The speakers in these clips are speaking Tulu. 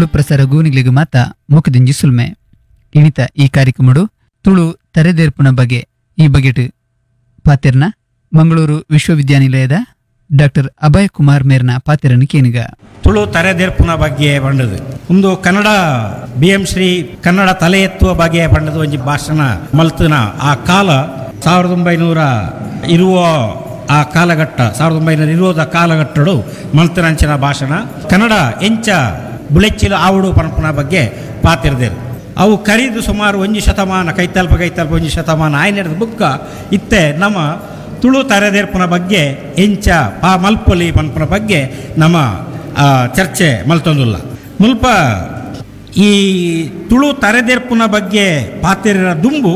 Tulu ಪ್ರಸಾರ ಗೂನಿಗ್ಲಿಗ್ ಮಾತ ಮುಖದಿಂಜಿ ಸುಲ್ಮೆ ಇಣಿತ ಈ ಕಾರ್ಯಕ್ರಮಡು ತುಳು ತರೆದೇರ್ಪುನ ಬಗೆ ಈ ಬಗೆಟ್ ಪಾತೆರ್ನ ಮಂಗಳೂರು ವಿಶ್ವವಿದ್ಯಾನಿಲಯದ ಡಾಕ್ಟರ್ ಅಭಯ್ ಕುಮಾರ್ ಮೇರ್ನ ಪಾತೆರನ್ನು ಕೇನಿಗ. ತುಳು ತರೆದೇರ್ಪುನ ಬಗ್ಗೆ ಪಂಡದು ಒಂದು ಕನ್ನಡ ಬಿ ಎಂ ಶ್ರೀ ಕನ್ನಡ ತಲೆ ಎತ್ತುವ ಬಗ್ಗೆ ಪಂಡದು ಒಂಜಿ ಭಾಷಣ ಮಲ್ತನ ಆ ಕಾಲ 1900 ಇರುವ ಆ ಕಾಲಘಟ್ಟ 1920 ಕಾಲಘಟ್ಟಡು ಮಲ್ತನಂಚಿನ ಭಾಷಣ ಕನ್ನಡ ಎಂಚ ಬುಳೆಚ್ಚಿಲು ಆವಡು ಪನ್ಪುನ ಬಗ್ಗೆ ಪಾತಿರ್ದೇರು. ಅವು ಕರಿದು ಸುಮಾರು ಒಂಜಿ ಶತಮಾನ ಕೈತಲ್ಪ ಕೈತಲ್ಪ ಒಂಜಿ ಶತಮಾನ ಆಯ್ನೆಡ್ದು ಬುಕ್ಕ ಇತ್ತೆ ನಮ್ಮ ತುಳು ತರೆದೇರ್ಪುನ ಬಗ್ಗೆ ಎಂಚ ಪಾ ಮಲ್ಪೊಲಿ ಪನ್ಪುನ ಬಗ್ಗೆ ನಮ್ಮ ಚರ್ಚೆ ಮಲ್ತೊಂದುಲ್ಲ. ಮುಲ್ಪ ಈ ತುಳು ತರೆದೇರ್ಪುನ ಬಗ್ಗೆ ಪಾತೆರ ದುಂಬು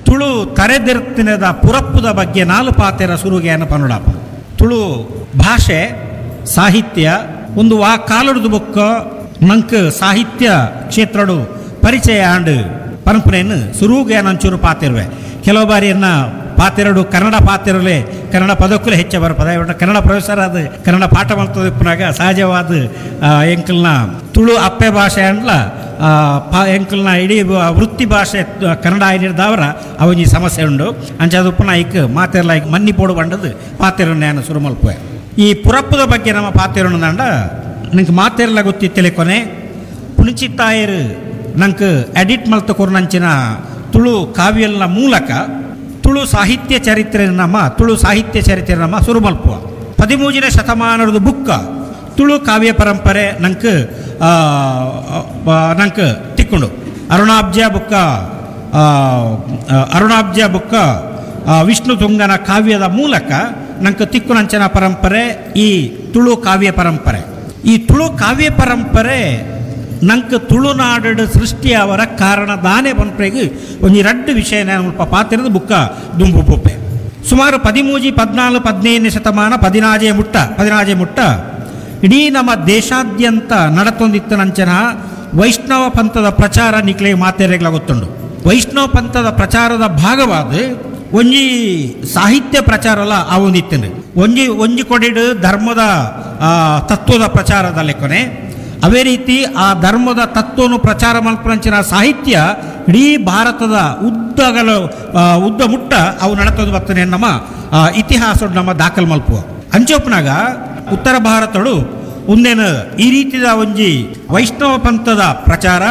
ತುಳು ತರೆದೆರ್ತಿನದ ಪುರಪ್ಪುದ ಬಗ್ಗೆ ನಾಲು ಪಾತೆರ ಸುರುಗೆಯನ್ನು ಪನುಡಾಪ. ತುಳು ಭಾಷೆ ಸಾಹಿತ್ಯ ಒಂದು ವಾ ಕಾಲುಡ್ದು ಬೊಕ್ಕ ನಂಕ್ ಸಾಹಿತ್ಯ ಕ್ಷೇತ್ರಡು ಪರಿಚಯ ಆಂಡ್ ಪರಂಪರೆಯನ್ನು ಸುರುಗೆ ನಂಚೂರು ಪಾತಿರುವೆ. ಕೆಲವು ಬಾರಿ ಎನ್ನ ಪಾತೆರಡು ಕನ್ನಡ ಪಾತಿರಲೆ ಕನ್ನಡ ಪದಕ್ಕೂ ಹೆಚ್ಚ ಬರಪದ. ಕನ್ನಡ ಪ್ರೊಫೆಸರ್ ಅದು ಕನ್ನಡ ಪಾಠ ಮಾಡ್ತದೆ ಪುನಾಗ ಸಹಜವಾದ ಎಂಕಲ್ನ ತುಳು ಅಪ್ಪೆ ಭಾಷೆ ಅಂಡ್ಲ ಎಂಕಲ್ನ ಇಡೀ ವೃತ್ತಿ ಭಾಷೆ ಕನ್ನಡ ಆಯ್ನಿರ್ದವರ ಅವನಿ ಸಮಸ್ಯೆ ಉಂಡು. ಅಂಚಾದ ಉಪ್ಪುನ ಐಕ್ ಮಾತೆರ್ಲ ಐಕ್ ಮನ್ನಿ ಪೋಡು ಬಂಡದು ಪಾತೆರು ನ್ಯಾನ ಸುರು ಮಲ್ಪುವೆ. ಈ ಪುರಪ್ಪದ ಬಗ್ಗೆ ನಮ್ಮ ಪಾತೆರು ದಂಡ ನಿಂಗೆ ಮಾತೆರ್ಲ ಗೊತ್ತಿತ್ತಲೆ ಕೊನೆ ಪುಣಿಚಿತ್ತಾಯರು ನಂಗೆ ಎಡಿಟ್ ಮಲ್ತ ಕೊರ್ನಂಚಿನ ತುಳು ಕಾವ್ಯಲ್ನ ಮೂಲಕ ತುಳು ಸಾಹಿತ್ಯ ಚರಿತ್ರೆ ನಮ್ಮ ತುಳು ಸಾಹಿತ್ಯ ಚರಿತ್ರೆ ನಮ್ಮ ಸುರು ಮಲ್ಪುವ. 13ನೇ ಶತಮಾನದ ಬುಕ್ಕ ತುಳು ಕಾವ್ಯ ಪರಂಪರೆ ನಂಗೆ ನಂಗೆ ತಿಕ್ಕೊಂಡು ಅರುಣಾಬ್ಜ ಬುಕ್ಕ ಅರುಣಾಬ್ಜ ಬುಕ್ಕ ವಿಷ್ಣು ತುಂಗನ ಕಾವ್ಯದ ಮೂಲಕ ನಂಗೆ ತಿಕ್ಕುನಂಚನ ಪರಂಪರೆ ಈ ತುಳು ಕಾವ್ಯ ಪರಂಪರೆ. ಈ ತುಳು ಕಾವ್ಯ ಪರಂಪರೆ ನಂಗೆ ತುಳುನಾಡು ಸೃಷ್ಟಿಯವರ ಕಾರಣ ದಾನೆ ಪನ್ಪರೆಗ್ ಒಂಜಿ ರಡ್ಡು ವಿಷಯ ಮುಲ್ಪ ಪಾತಿರದ ಬುಕ್ಕ ದುಂಬು ಪೊಪ್ಪೆ. ಸುಮಾರು 13, 14, 15ನೇ ಶತಮಾನ ಪದಿನಾಜೆ ಮುಟ್ಟ ಇಡೀ ನಮ್ಮ ದೇಶಾದ್ಯಂತ ನಡತೊಂದಿತ್ತನಂಚನ ವೈಷ್ಣವ ಪಂಥದ ಪ್ರಚಾರ ನಿಕ್ಲೆ ಮಾತೆರೆಗ್ಲ ಗೊತ್ತುಂಡು. ವೈಷ್ಣವ ಪಂಥದ ಪ್ರಚಾರದ ಭಾಗವಾದ ಒಂಜಿ ಸಾಹಿತ್ಯ ಪ್ರಚಾರಲ ಆ ಒಂದಿತ್ತಂಡು. ಒಂಜಿ ಒಂಜಿ ಕೊಡಿಡು ಧರ್ಮದ ತತ್ವದ ಪ್ರಚಾರದ ಲೆಕ್ಕನೆ ಅದೇ ರೀತಿ ಆ ಧರ್ಮದ ತತ್ವವನ್ನು ಪ್ರಚಾರ ಮಲ್ಪನಂಚಿನ ಸಾಹಿತ್ಯ ಇಡೀ ಭಾರತದ ಉದ್ದಗಲ ಉದ್ದ ಮುಟ್ಟ ಅವು ನಡತದ್ದು ಬರ್ತನೆ ನಮ್ಮ ಇತಿಹಾಸ ನಮ್ಮ ದಾಖಲು ಮಲ್ಪುವ. ಅಂಚೊಪ್ಪನಾಗ ಉತ್ತರ ಭಾರತಡು ಒಂದೇನು ಈ ರೀತಿಯ ಒಂಜಿ ವೈಷ್ಣವ ಪಂಥದ ಪ್ರಚಾರ,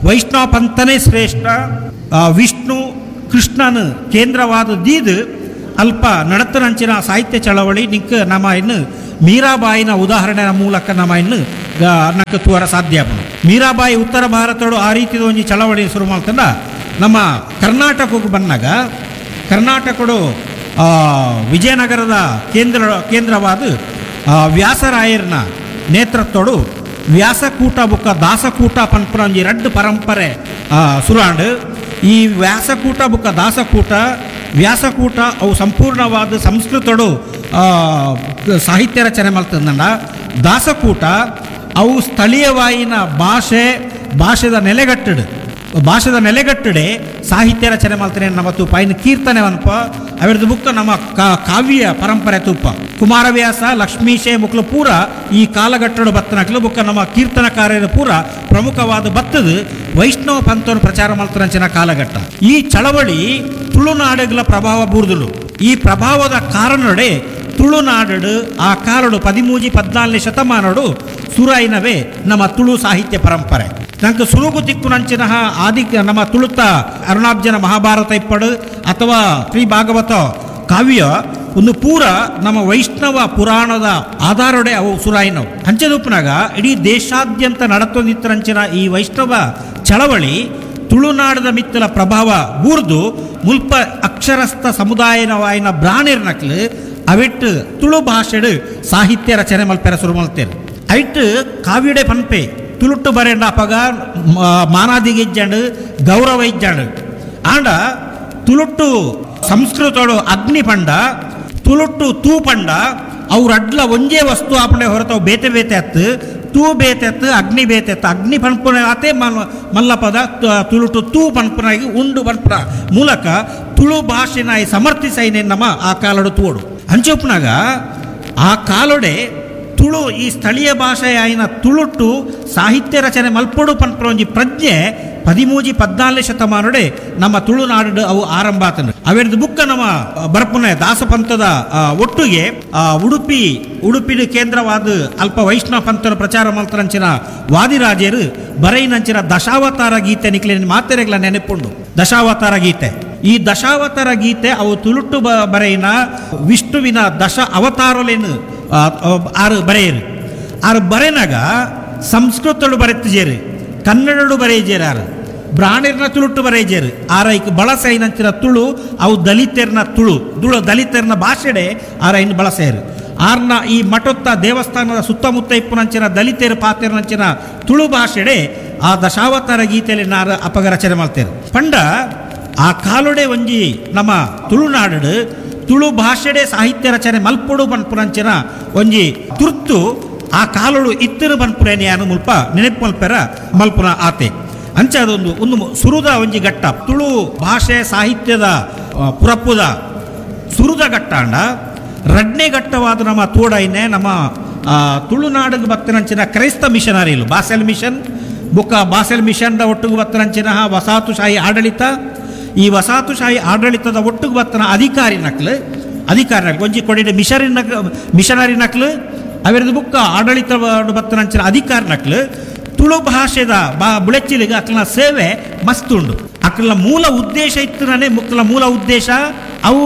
ವೈಷ್ಣವ ಪಂಥನೇ ಶ್ರೇಷ್ಠ, ವಿಷ್ಣು ಕೃಷ್ಣನ ಕೇಂದ್ರವಾದ ದೀದು ಅಲ್ಪ ನಡತನಂಚಿನ ಸಾಹಿತ್ಯ ಚಳವಳಿ ನಿಕ್ಕ ನಮ್ಮ ಇನ್ನು ಮೀರಾಬಾಯಿನ ಉದಾಹರಣೆಯ ಮೂಲಕ ನಮ್ಮ ಇನ್ನು ನಕ್ಕ ತೂವರ ಸಾಧ್ಯ. ಮೀರಾಬಾಯಿ ಉತ್ತರ ಭಾರತಡು ಆ ರೀತಿಯ ಒಂಜಿ ಚಳವಳಿ ಶುರು ಮಾಡ್ತಂದ ನಮ್ಮ ಕರ್ನಾಟಕಕ್ಕೆ ಬಂದಾಗ ಕರ್ನಾಟಕಡು ವಿಜಯನಗರದ ಕೇಂದ್ರವಾದ ವ್ಯಾಸರಾಯರ್ನ ನೇತೃತ್ವಡು ವ್ಯಾಸಕೂಟ ಬುಕ್ಕ ದಾಸಕೂಟ ಪನ್ಪುನ ಒಂಜಿ ರಡ್ಡು ಪರಂಪರೆ ಸುರಾಂಡು. ಈ ವ್ಯಾಸಕೂಟ ಬುಕ್ಕ ದಾಸಕೂಟ ವ್ಯಾಸಕೂಟ ಅವು ಸಂಪೂರ್ಣವಾದ ಸಂಸ್ಕೃತಡು ಸಾಹಿತ್ಯ ರಚನೆ ಮಲ್ತಂದಂಡ. ದಾಸಕೂಟ ಅವು ಸ್ಥಳೀಯವಾಯಿನ ಭಾಷೆದ ನೆಲೆಗಟ್ಟಡು ಭಾಷೆದ ನೆಲೆಗಟ್ಟಡೆ ಸಾಹಿತ್ಯ ರಚನೆ ಮಾಡ್ತಾನೆ ನಮ್ಮ ತೂಪ ಇನ್ನು ಕೀರ್ತನೆ ಅನ್ಪ ಅವರದ್ದು ಬುಕ್ಕ ನಮ್ಮ ಕಾವ್ಯ ಪರಂಪರೆ ತೂಪ. ಕುಮಾರವ್ಯಾಸ ಲಕ್ಷ್ಮೀಶೆ ಮುಕ್ಲು ಪೂರ ಈ ಕಾಲಘಟ್ಟಡು ಬತ್ತನಕ್ಲು ಬುಕ್ಕ ನಮ್ಮ ಕೀರ್ತನಕಾರ್ಯದ ಪೂರ ಪ್ರಮುಖವಾದ ಬತ್ತದು ವೈಷ್ಣವ ಪಂಥವನ್ನು ಪ್ರಚಾರ ಮಾಡ್ತಾರಂಚಿನ ಕಾಲಘಟ್ಟ. ಈ ಚಳವಳಿ ತುಳುನಾಡುಗಳ ಪ್ರಭಾವ ಬೂರ್ದುಳು. ಈ ಪ್ರಭಾವದ ಕಾರಣಡೆ ತುಳುನಾಡು ಆ ಕಾಲಡು 13, 14ನೇ ಶತಮಾನಡು ಸುರಾಯಿನವೇ ನಮ್ಮ ತುಳು ಸಾಹಿತ್ಯ ಪರಂಪರೆ. ನಂಗೆ ಸುರುಗು ತಿಕ್ಕುನಂಚಿನ ಆದಿ ನಮ್ಮ ತುಳುತ ಅರುಣಾಬ್ಜನ ಮಹಾಭಾರತ ಇಪ್ಪಡು ಅಥವಾ ಶ್ರೀ ಭಾಗವತ ಕಾವ್ಯ ಒಂದು ಪೂರ ನಮ್ಮ ವೈಷ್ಣವ ಪುರಾಣದ ಆಧಾರಡೆ ಅವು ಸುರಾಯಿನವು. ಅಂಚದೂಪನಾಗ ಇಡೀ ದೇಶಾದ್ಯಂತ ನಡತೊಂದಿತ್ತರಂಚಿನ ಈ ವೈಷ್ಣವ ಚಳವಳಿ ತುಳುನಾಡದ ಮಿತ್ತಲ ಪ್ರಭಾವ ಬೂರ್ದು ಮುಲ್ಪ ಅಕ್ಷರಸ್ಥ ಸಮುದಾಯನವಾಯಿನ ಬ್ರಾಣಿರ್ನಕ್ಲು ಅವಿಟ್ಟು ತುಳು ಭಾಷೆಡು ಸಾಹಿತ್ಯ ರಚನೆ ಮಲ್ಪೆರ ಶುರು ಮಲ್ತೇನೆ. ಐಟ್ ಕಾವ್ಯಡೆ ಪನ್ಪೆ ತುಳುಟ್ಟು ಬರೆಂಡ ಅಪಗ ಮಾನಾದಿಗೆ ಇಜ್ಜಂಡು ಗೌರವ ಇಜ್ಜಂಡು ಆಂಡ ತುಳುಟ್ಟು ಸಂಸ್ಕೃತಡು ಅಗ್ನಿ ಪಂಡ ತುಳುಟ್ಟು ತೂ ಪಂಡ ಅವ್ರ ಅಡ್ಲ ಒಂಜೇ ವಸ್ತು ಆಪಣೆ ಹೊರತವು ಬೇತೆ ಬೇತೆ ಅತ್ತು ತೂ ಬೇತೆ ಅತ್ತು ಅಗ್ನಿ ಬೇತೆ ಅತ್ತು ಅಗ್ನಿ ಪನ್ಪುನ ಆತೆ ಮಲ್ಲಪದ ತುಳುಟು ತೂ ಪನ್ಪುನಾಗಿ ಉಂಡು ಪನ್ಪುನ ಮೂಲಕ ತುಳು ಭಾಷೆನ ಸಮರ್ಥಿಸೈನೆ ನಮ್ಮ ಆ ಕಾಲಡು ತೋಡು. ಅಂಚೊಪ್ಪನಾಗ ಆ ಕಾಲೊಡೆ Tulu ಈ ಸ್ಥಳೀಯ ಭಾಷೆಯಾಯಿನ ತುಳುಟು ಸಾಹಿತ್ಯ ರಚನೆ ಮಲ್ಪೊಡು ಪನ್ಪುನ ಒಂಜಿ ಪ್ರಜ್ಞೆ 13 14ನೇ ಶತಮಾನಡೆ ನಮ್ಮ ತುಳುನಾಡು ಅವು ಆರಂಭ ಆತನು. ಅವೆರ್ದು ಬುಕ್ಕ ನಮ್ಮ ಬರ್ಪುನ ದಾಸಪಂಥದ ಒಟ್ಟಿಗೆ ಉಡುಪಿ ಉಡುಪಿನ ಕೇಂದ್ರವಾದ ಅಲ್ಪ ವೈಷ್ಣವ ಪಂಥನ ಪ್ರಚಾರ ಮಲ್ತರಂಚಿನ ವಾದಿರಾಜರು ಬರೈನಂಚಿನ ದಶಾವತಾರ ಗೀತೆ ನಿಕ್ಲೆ ಮಾತೆರೆಗ್ಲ ನೆನಪುಂಡು. ದಶಾವತಾರ ಗೀತೆ, ಈ ದಶಾವತಾರ ಗೀತೆ ಅವು ತುಳುಟು ಬರೆಯಿನ ವಿಷ್ಣುವಿನ ದಶ ಅವತಾರಲೇನು ಆರು ಬರೆಯರು. ಆರು ಬರೆನಾಗ ಸಂಸ್ಕೃತಡು ಬರೆತಿಜೇರು, ಕನ್ನಡಡು ಬರೆಯಜೇರು, ಆರು ಬ್ರಾಣಿರ್ನ ತುಳುಟು ಬರೆಯಜೇರು. ಆರೈಕ್ ಬಳಸೈನಂಚಿನ ತುಳು ಅವು ದಲಿತರ್ನ ತುಳು ತುಳು ದಲಿತರ್ನ ಭಾಷೆಡೆ ಆರೈನ್ ಬಳಸೇರು. ಆರ್ನ ಈ ಮಠೊತ್ತ ದೇವಸ್ಥಾನದ ಸುತ್ತಮುತ್ತ ಇಪ್ಪುನಂಚಿನ ದಲಿತರು ಪಾತೆರ್ನಂಚಿನ ತುಳು ಭಾಷೆಡೆ ಆ ದಶಾವತಾರ ಗೀತೆಯಲ್ಲಿ ನಾರು ಅಪಗ ರಚನೆ ಮಾಡ್ತೇರು. ಪಂಡ ಆ ಕಾಲುಡೆ ಒಂಜಿ ನಮ್ಮ ತುಳುನಾಡು ತುಳು ಭಾಷೆಡೆ ಸಾಹಿತ್ಯ ರಚನೆ ಮಲ್ಪೊಡು ಪನ್ಪುನಂಚಿನ ಒಂಜಿ ತುರ್ತು ಆ ಕಾಲುಡು ಇತ್ತಿರು ಪನ್ಪುರೇನಿಯಾನು ಮುಲ್ಪ ನೆನಪು ಮಲ್ಪೆರ ಮಲ್ಪುನ ಆತೆ. ಅಂಚ ಅದೊಂದು ಒಂದು ಸುರುದ ಒಂಜಿ ಘಟ್ಟ ತುಳು ಭಾಷೆ ಸಾಹಿತ್ಯದ ಪುರಪ್ಪುದ ಸುರುದ ಘಟ್ಟಾಂಡ. ರಡ್ನೇ ಘಟ್ಟವಾದ ನಮ್ಮ ತೋಡೈನೆ ನಮ್ಮ ತುಳುನಾಡಿಗೆ ಬತ್ತಿನಂಚಿನ ಕ್ರೈಸ್ತ ಮಿಷನರಿಲು ಬಾಸೆಲ್ ಮಿಷನ್ ಬುಕ್ಕ ಬಾಸೆಲ್ ಮಿಷನ್ದ ಒಟ್ಟಿಗೆ ಬತ್ತಿನಂಚಿನ ವಸಾಹತುಶಾಹಿ ಆಡಳಿತ, ಈ ವಸಾಹತುಶಾಹಿ ಆಡಳಿತದ ಒಟ್ಟಿಗೆ ಬತ್ತನ ಅಧಿಕಾರಿ ನಕ್ಲು ಅಧಿಕಾರಿ ನಕ್ಲು ಒಂಜಿ ಕೊಡಿನ ಮಿಷನರಿ ನಕ್ಲು ಅವೆರದು ಬುಕ್ಕ ಆಡಳಿತ ಬತ್ತನಂಚಿನ ಅಧಿಕಾರಿ ನಕ್ಲು ತುಳು ಭಾಷೆದ ಬಾ ಬುಳೆಚ್ಚಿಲಿಗೆ ಅಕ್ಲನ ಸೇವೆ ಮಸ್ತುಂಡು. ಅಕ್ಲನ ಮೂಲ ಉದ್ದೇಶ ಇತ್ತು ಮುಕ್ತಲ ಮೂಲ ಉದ್ದೇಶ ಅವು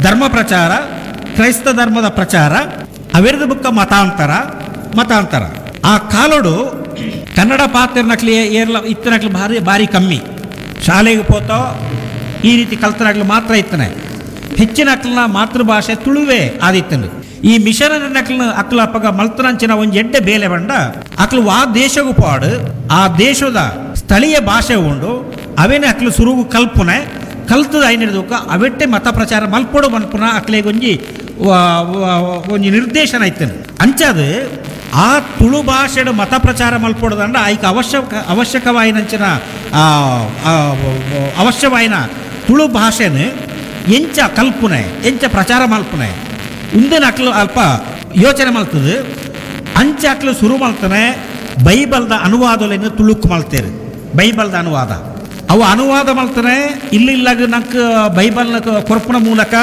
ಧರ್ಮ ಪ್ರಚಾರ, ಕ್ರೈಸ್ತ ಧರ್ಮದ ಪ್ರಚಾರ, ಅವೆರದು ಬುಕ್ಕ ಮತಾಂತರ ಮತಾಂತರ. ಆ ಕಾಲೋಡು ಕನ್ನಡ ಪಾತ್ರನಕ್ಲಿ ಏರ್ಲ ಇತ್ತನಕ್ಲು ಭಾರಿ ಭಾರಿ ಕಮ್ಮಿ, ಶಾಲೆಗೆ ಪೋತೋ ಈ ರೀತಿ ಕಲ್ತನಾಗ್ಲು ಮಾತ್ರ ಇತ್ತನೆ, ಹೆಚ್ಚಿನ ಅಕ್ಲನ ಮಾತೃಭಾಷೆ ತುಳುವೇ ಆದಿತ್ತನು. ಈ ಮಿಷನರಿ ನಕ್ಲನ ಅಕ್ಲ ಅಪ್ಪಗ ಮಲ್ತನಂಚಿನ ಒಂದು ಎಡ್ಡೆ ಬೇಲೆ ಬಂಡ ಅಕ್ಲು ಆ ದೇಶಗೂ ಪಾಡು ಆ ದೇಶದ ಸ್ಥಳೀಯ ಭಾಷೆ ಉಂಡು ಅವೇನೆ ಅಕ್ಲು ಸುರುಗು ಕಲ್ಪನೆ ಕಲ್ತದ ಐನಿಡ್ದಕ್ಕ ಅವೆಟ್ಟೆ ಮತ ಪ್ರಚಾರ ಮಲ್ಪೊಡು ಮನ್ಪುನ ಅಕ್ಲೆಗೊಂಜಿ ಒಂಜಿ ನಿರ್ದೇಶನ ಇತ್ತನು. ಅಂಚಾದ ಆ ತುಳು ಭಾಷೆಡು ಮತ ಪ್ರಚಾರ ಮಲ್ಪೊಡದಂಡ ಆಯ್ಕೆ ಅವಶ್ಯಕವಾಯಿನಂಚಿನ ಅವಶ್ಯವಾಯಿನ ತುಳು ಭಾಷೆನ ಎಂಚ ಕಲ್ಪನೆ ಎಂಚ ಪ್ರಚಾರ ಮಲ್ಪನೆ ಉಂದಿನ ಅಕ್ಲು ಅಲ್ಪ ಯೋಚನೆ ಮಲ್ತದೆ. ಅಂಚ ಅಕ್ಲು ಶುರು ಮಲ್ತಾನೆ ಬೈಬಲ್ದ ಅನುವಾದಲೇನು ತುಳುಕು ಮಲ್ತೇರು. ಬೈಬಲ್ದ ಅನುವಾದ ಅವು ಅನುವಾದ ಮಲ್ತಾನೆ ಇಲ್ಲಿಲ್ಲಾಗ ನಂಗೆ ಬೈಬಲ್ನ ಕೊರ್ಪುನ ಮೂಲಕ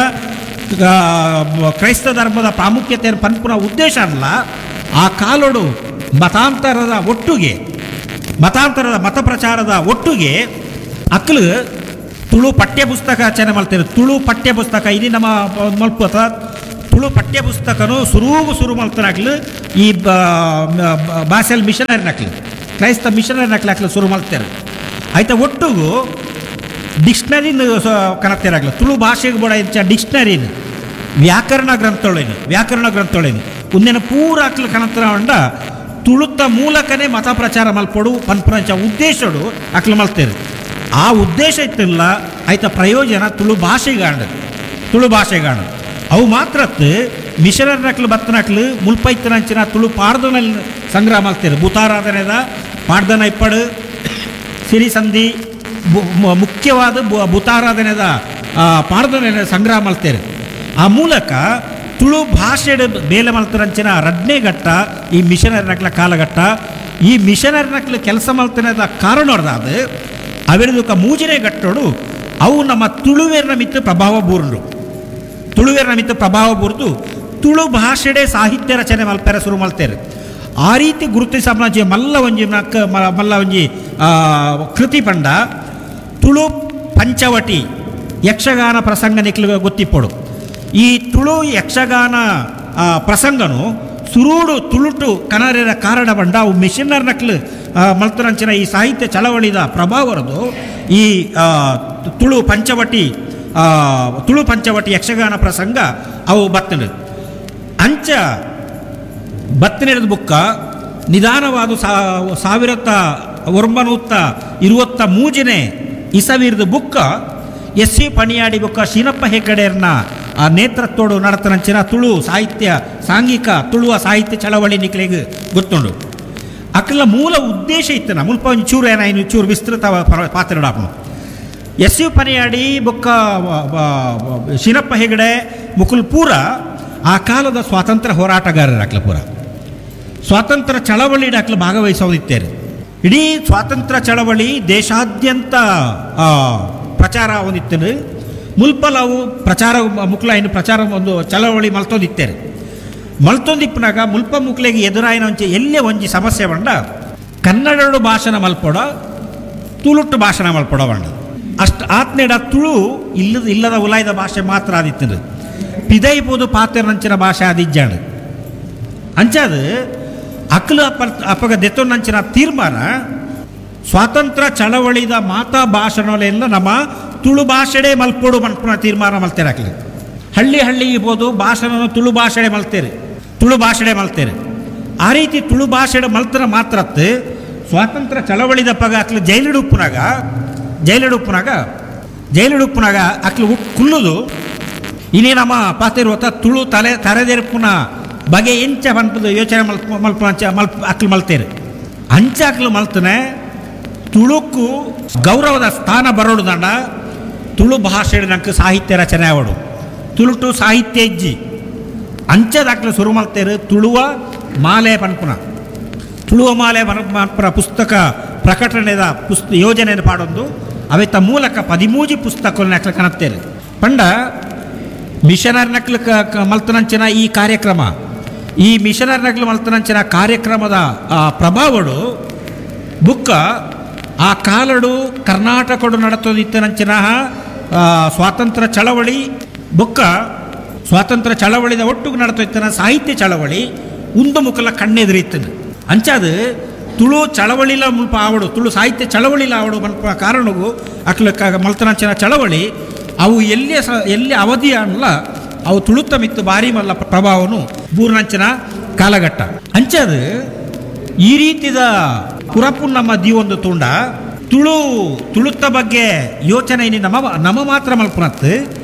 ಕ್ರೈಸ್ತ ಧರ್ಮದ ಪ್ರಾಮುಖ್ಯತೆಯನ್ನು ಪನ್ಪುನ ಉದ್ದೇಶ ಅಲ್ಲ. ಆ ಕಾಲೋಡು ಮತಾಂತರದ ಒಟ್ಟಿಗೆ ಮತಾಂತರದ ಮತ ಪ್ರಚಾರದ ಒಟ್ಟಿಗೆ ಅಕ್ಲು ತುಳು ಪಠ್ಯಪುಸ್ತಕ ರಚನೆ ಮಾಡ್ತಾರೆ. ತುಳು ಪಠ್ಯಪುಸ್ತಕ ಇಲ್ಲಿ ನಮ್ಮ ಮಲ್ಪ ತುಳು ಪಠ್ಯಪುಸ್ತಕನು ಸುರುಗು ಶುರು ಮಾಡ್ತಾನಾಗ್ಲು ಈ ಬಾಸೆಲ್ ಮಿಷನರಿ ನಕ್ಲು ಕ್ರೈಸ್ತ ಮಿಷನರಿ ನಕ್ಲು ಹಾಕ್ಲು ಶುರು ಮಾಡ್ತಾರೆ. ಆಯ್ತಾ ಒಟ್ಟಿಗೂ ಡಿಕ್ಷನರಿನ ಕನತ್ತೇರಾಗ್ಲ ತುಳು ಭಾಷೆಗೆ ಬೋಡ ಇಂಚ ಡಿಕ್ಷನರಿನ ವ್ಯಾಕರಣ ಗ್ರಂಥಗಳೇನು ವ್ಯಾಕರಣ ಗ್ರಂಥಗಳೇನು ಒಂದೇನ ಪೂರ ಹಾಕ್ಲು ಕನತ್ರ ಉಂಡ ತುಳುತ್ತ ಮೂಲಕನೇ ಮತ ಪ್ರಚಾರ ಮಲ್ಪೊಡು ಪನ್ಪುನಂಚ ಉದ್ದೇಶಡು ಅಕ್ಲು ಮಲ್ತೇರು. ಆ ಉದ್ದೇಶ ಇತ್ತಿಲ್ಲ ಆಯ್ತಾ ಪ್ರಯೋಜನ ತುಳು ಭಾಷೆಗಾಂಡ ತುಳು ಭಾಷೆಗಾಂಡ ಅವು ಮಾತ್ರ ಮಿಷನರಿ ನಕ್ಲು ಬತ್ತನಕ್ಲು ಮುಲ್ಪೈತನಂಚಿನ ತುಳು ಪಾಡ್ದನಲ್ಲಿ ಸಂಗ್ರಹ ಮಲ್ತೇರು. ಭೂತಾರಾಧನೆದ ಪಾಡ್ದನ ಇಪ್ಪಡು ಸಿರಿಸಂಧಿ ಮುಖ್ಯವಾದ ಭೂತಾರಾಧನೆದ ಪಾಡ್ದನ ಸಂಗ್ರಹ ಮಲ್ತೇರು. ಆ ಮೂಲಕ ತುಳು ಭಾಷೆಡು ಬೇಲೆ ಮಲ್ತರಂಚಿನ ರಡ್ನೇ ಘಟ್ಟ ಈ ಮಿಷನರಿ ನಕ್ಲ ಕಾಲಘಟ್ಟ. ಈ ಮಿಷನರಿ ನಕ್ಲು ಕೆಲಸ ಮಲ್ತನದ ಕಾರಣ ಅದು ಅವೆರದಕ್ಕ ಮೂಜನೇ ಘಟ್ಟೋಡು ಅವು ನಮ್ಮ ತುಳುವೇರ್ನ ಮಿತ್ತು ಪ್ರಭಾವ ಬೂರ್ನು ತುಳುವೇರ್ನ ಮಿತ್ತು ಪ್ರಭಾವ ಬೂರ್ದು ತುಳು ಭಾಷೆಡೆ ಸಾಹಿತ್ಯ ರಚನೆ ಮಲ್ಪೆರ ಶುರು ಮಲ್ತೇರು. ಆ ರೀತಿ ಗುರುತಿಸಂಜಿ ಮಲ್ಲ ಒಂಜಿ ಮಲ್ಲ ಒಂಜಿ ಕೃತಿ ಪಂಡ ತುಳು ಪಂಚವಟಿ ಯಕ್ಷಗಾನ ಪ್ರಸಂಗ ನಿಕ್ಲು ಗೊತ್ತಿಪ್ಪಡು. ಈ ತುಳು ಯಕ್ಷಗಾನ ಪ್ರಸಂಗನು ಸುರುಡು ತುಳುಟು ಕನರಿರ ಕಾರಣ ಬಂಡ ಅವು ಮಿಷನರ್ ನಕ್ಲು ಮಲ್ತರಂಚಿನ ಈ ಸಾಹಿತ್ಯ ಚಳವಳಿದ ಪ್ರಭಾವರದು ಈ ತುಳು ಪಂಚವಟಿ ತುಳು ಪಂಚವಟಿ ಯಕ್ಷಗಾನ ಪ್ರಸಂಗ ಅವು ಬತ್ತನು. ಅಂಚ ಬತ್ತನಿರದ ಬುಕ್ಕ ನಿಧಾನವಾದ 1923 ಇಸವಿರದ ಬುಕ್ಕ ಎಸ್ ಸಿ ಪಣಿಯಾಡಿ ಬುಕ್ಕ ಶೀನಪ್ಪ ಹೆಗ್ಗಡೆಯರ್ನ ಆ ನೇತೃತ್ವಡು ನಡತನಂಚಿನ ತುಳು ಸಾಹಿತ್ಯ ಸಾಂಘಿಕ ತುಳುವ ಸಾಹಿತ್ಯ ಚಳವಳಿ ನಿಕ್ಲೆಗ್ ಗೊತ್ತುಂಡು. ಅಕ್ಲ ಮೂಲ ಉದ್ದೇಶ ಇತ್ತನ ಮುಲ್ಪ ಒಂಜಿ ಚೂರು ಏನಾಯ್ತು ಚೂರು ವಿಸ್ತೃತ ಪಾತ್ರ ಎಸ್ you Paniyadi ಬೊಕ್ಕ ಶೀನಪ್ಪ ಹೆಗಡೆ ಮುಕುಲ್ ಪೂರ ಆ ಕಾಲದ ಸ್ವಾತಂತ್ರ್ಯ ಹೋರಾಟಗಾರರ ಅಕ್ಲ ಪೂರ. ಸ್ವಾತಂತ್ರ್ಯ ಚಳವಳಿ ಅಕ್ಲು ಭಾಗವಹಿಸೋದಿತ್ತೇರು. ಇಡೀ ಸ್ವಾತಂತ್ರ್ಯ ಚಳವಳಿ ದೇಶಾದ್ಯಂತ ಪ್ರಚಾರ ಹೊಂದಿತ್ತೇನೆ. ಮುಲ್ಪಲಾವು ಪ್ರಚಾರ ಮುಕ್ಲ ಇನ್ನು ಪ್ರಚಾರ ಒಂದು ಚಳವಳಿ ಮಲ್ತೊಂದಿತ್ತೇರು. ಮಲ್ತೊಂದಿಪ್ಪನಾಗ ಮುಲ್ಪ ಮುಕ್ಲೆಗೆ ಎದುರಾಯಿನ ಒಂಚೆ ಎಲ್ಲೇ ಒಂಜಿ ಸಮಸ್ಯೆ ಬಂಡ ಕನ್ನಡಡು ಭಾಷಣ ಮಲ್ಪೊಡ ತುಳುಟ್ಟು ಭಾಷಣ ಮಲ್ಪೊಡ ಬಂಡ ಅಷ್ಟು ಆತ್ನೇಡ ತುಳು ಇಲ್ಲದ ಇಲ್ಲದ ಉಲಾಯ್ದ ಭಾಷೆ ಮಾತ್ರ ಆದಿತ್ತೇನೆ. ಪಿದೈಪೋದು ಪಾತೆರ್ನಂಚಿನ ಭಾಷೆ ಆದಿಜ್ಜಾಡು ಅಂಚಾದು ಅಕ್ಲು ಅಪ್ಪ ಅಪ್ಪಗ ದೆತ್ತೊಂದಂಚಿನ ತೀರ್ಮಾನ ಸ್ವಾತಂತ್ರ್ಯ ಚಳವಳಿದ ಮಾತಾ ಭಾಷಣಲೆಲ್ಲ ನಮ್ಮ ತುಳು ಭಾಷೆಡೆ ಮಲ್ಪೋಡು ಮನ್ಪುನ ತೀರ್ಮಾನ ಮಲ್ತೇರೆ. ಅಕ್ಲು ಹಳ್ಳಿ ಹಳ್ಳಿ ಇರ್ಬೋದು ಭಾಷಣನ ತುಳು ಭಾಷೆಡೆ ಮಲ್ತೇರೆ, ತುಳು ಭಾಷೆಡೆ ಮಲ್ತೇರೆ. ಆ ರೀತಿ ತುಳು ಭಾಷೆಡೆ ಮಲ್ತರ ಮಾತ್ರತ್ತು ಸ್ವಾತಂತ್ರ್ಯ ಚಳವಳಿದ ಪಗ ಅಕ್ಲು ಜೈಲಿಡುಪ್ಪುನಾಗ ಜೈಲಿಡುಪ್ಪುನಾಗ ಜೈಲಿಡುಪ್ಪುನಾಗ ಅಕ್ಲು ಕುಲ್ಲುದು ಇನ್ನೇ ನಮ್ಮ ಪಾತಿರುವತ್ತ ತುಳು ತಲೆ ತರೆದೆರ್ಪುನ ಬಗೆ ಎಂಚ ಪನ್ಪದ ಯೋಚನೆ ಮಲ್ಪ ಮಲ್ಪ ಅಂಚ ಮಲ್ಪ ಅಕ್ಲು ಮಲ್ತೇರು. ಅಂಚ ಅಕ್ಲು ಮಲ್ತನೆ ತುಳುಕು ಗೌರವದ ಸ್ಥಾನ ಬರೋಡು ದಂಡ ತುಳು ಭಾಷೆ ನಂಗೆ ಸಾಹಿತ್ಯ ರಚನೆ ಆವಡು ತುಳುಟು ಸಾಹಿತ್ಯ ಇಜ್ಜಿ ಅಂಚದಾಕ್ಲು ಶುರು ಮಲ್ತೇರು ತುಳುವ ಮಾಲೆ ಪನ್ಪುನ ತುಳುವ ಮಾಲೆ ಪನ್ಪುನ ಪುಸ್ತಕ ಪ್ರಕಟಣೆದ ಯೋಜನೆಯನ್ನು ಪಾಡೊಂದು ಅವೆತ್ತ ಮೂಲಕ 13 ಪುಸ್ತಕಗಳನ್ನ ಅಕ್ಲು ಕನತ್ತೇರು. ಪಂಡ ಮಿಷನರ್ ನಕ್ಲು ಮಲ್ತನಂಚಿನ ಈ ಕಾರ್ಯಕ್ರಮ, ಈ ಮಿಷನರ್ ನಕ್ಲು ಮಲ್ತನಂಚಿನ ಕಾರ್ಯಕ್ರಮದ ಪ್ರಭಾವಡು ಬುಕ್ಕ ಆ ಕಾಲಡು ಕರ್ನಾಟಕಡು ನಡತದಿತ್ತನಂಚಿನ ಸ್ವಾತಂತ್ರ್ಯ ಚಳವಳಿ ಬುಕ್ಕ ಸ್ವಾತಂತ್ರ್ಯ ಚಳವಳಿದ ಒಟ್ಟಿಗೆ ನಡತೋಯ್ತನ ಸಾಹಿತ್ಯ ಚಳವಳಿ ಉಂದು ಮುಖಲ ಕಣ್ಣೆದುರಿತ್ತನು. ಅಂಚಾದು ತುಳು ಚಳವಳಿಲ ಮುಲ್ಪ ಆವಡು ತುಳು ಸಾಹಿತ್ಯ ಚಳವಳಿಲ ಆವಡು ಮಲ್ಪ ಕಾರಣಗೂ ಅಕ್ಲ ಮಲ್ತನಂಚಿನ ಚಳವಳಿ ಅವು ಎಲ್ಲಿಯ ಎಲ್ಲಿ ಅವಧಿ ಅಲ್ಲ ಅವು ತುಳುತ್ತ ಮಿತ್ತು ಭಾರಿ ಮಲ್ಲ ಪ್ರಭಾವನು ಬೂರ್ನಂಚಿನ ಕಾಲಘಟ್ಟ. ಅಂಚಾದು ಈ ರೀತಿದ ಪುರಪು ನಮ್ಮ ದೀವೊಂದು ತುಂಡ ತುಳು ತುಳುತ್ತ ಬಗ್ಗೆ ಯೋಚನೆ ನಮ್ಮ ನಮ್ಮ ಮಾತ್ರ ಮಲ್ಪುನತ್ತು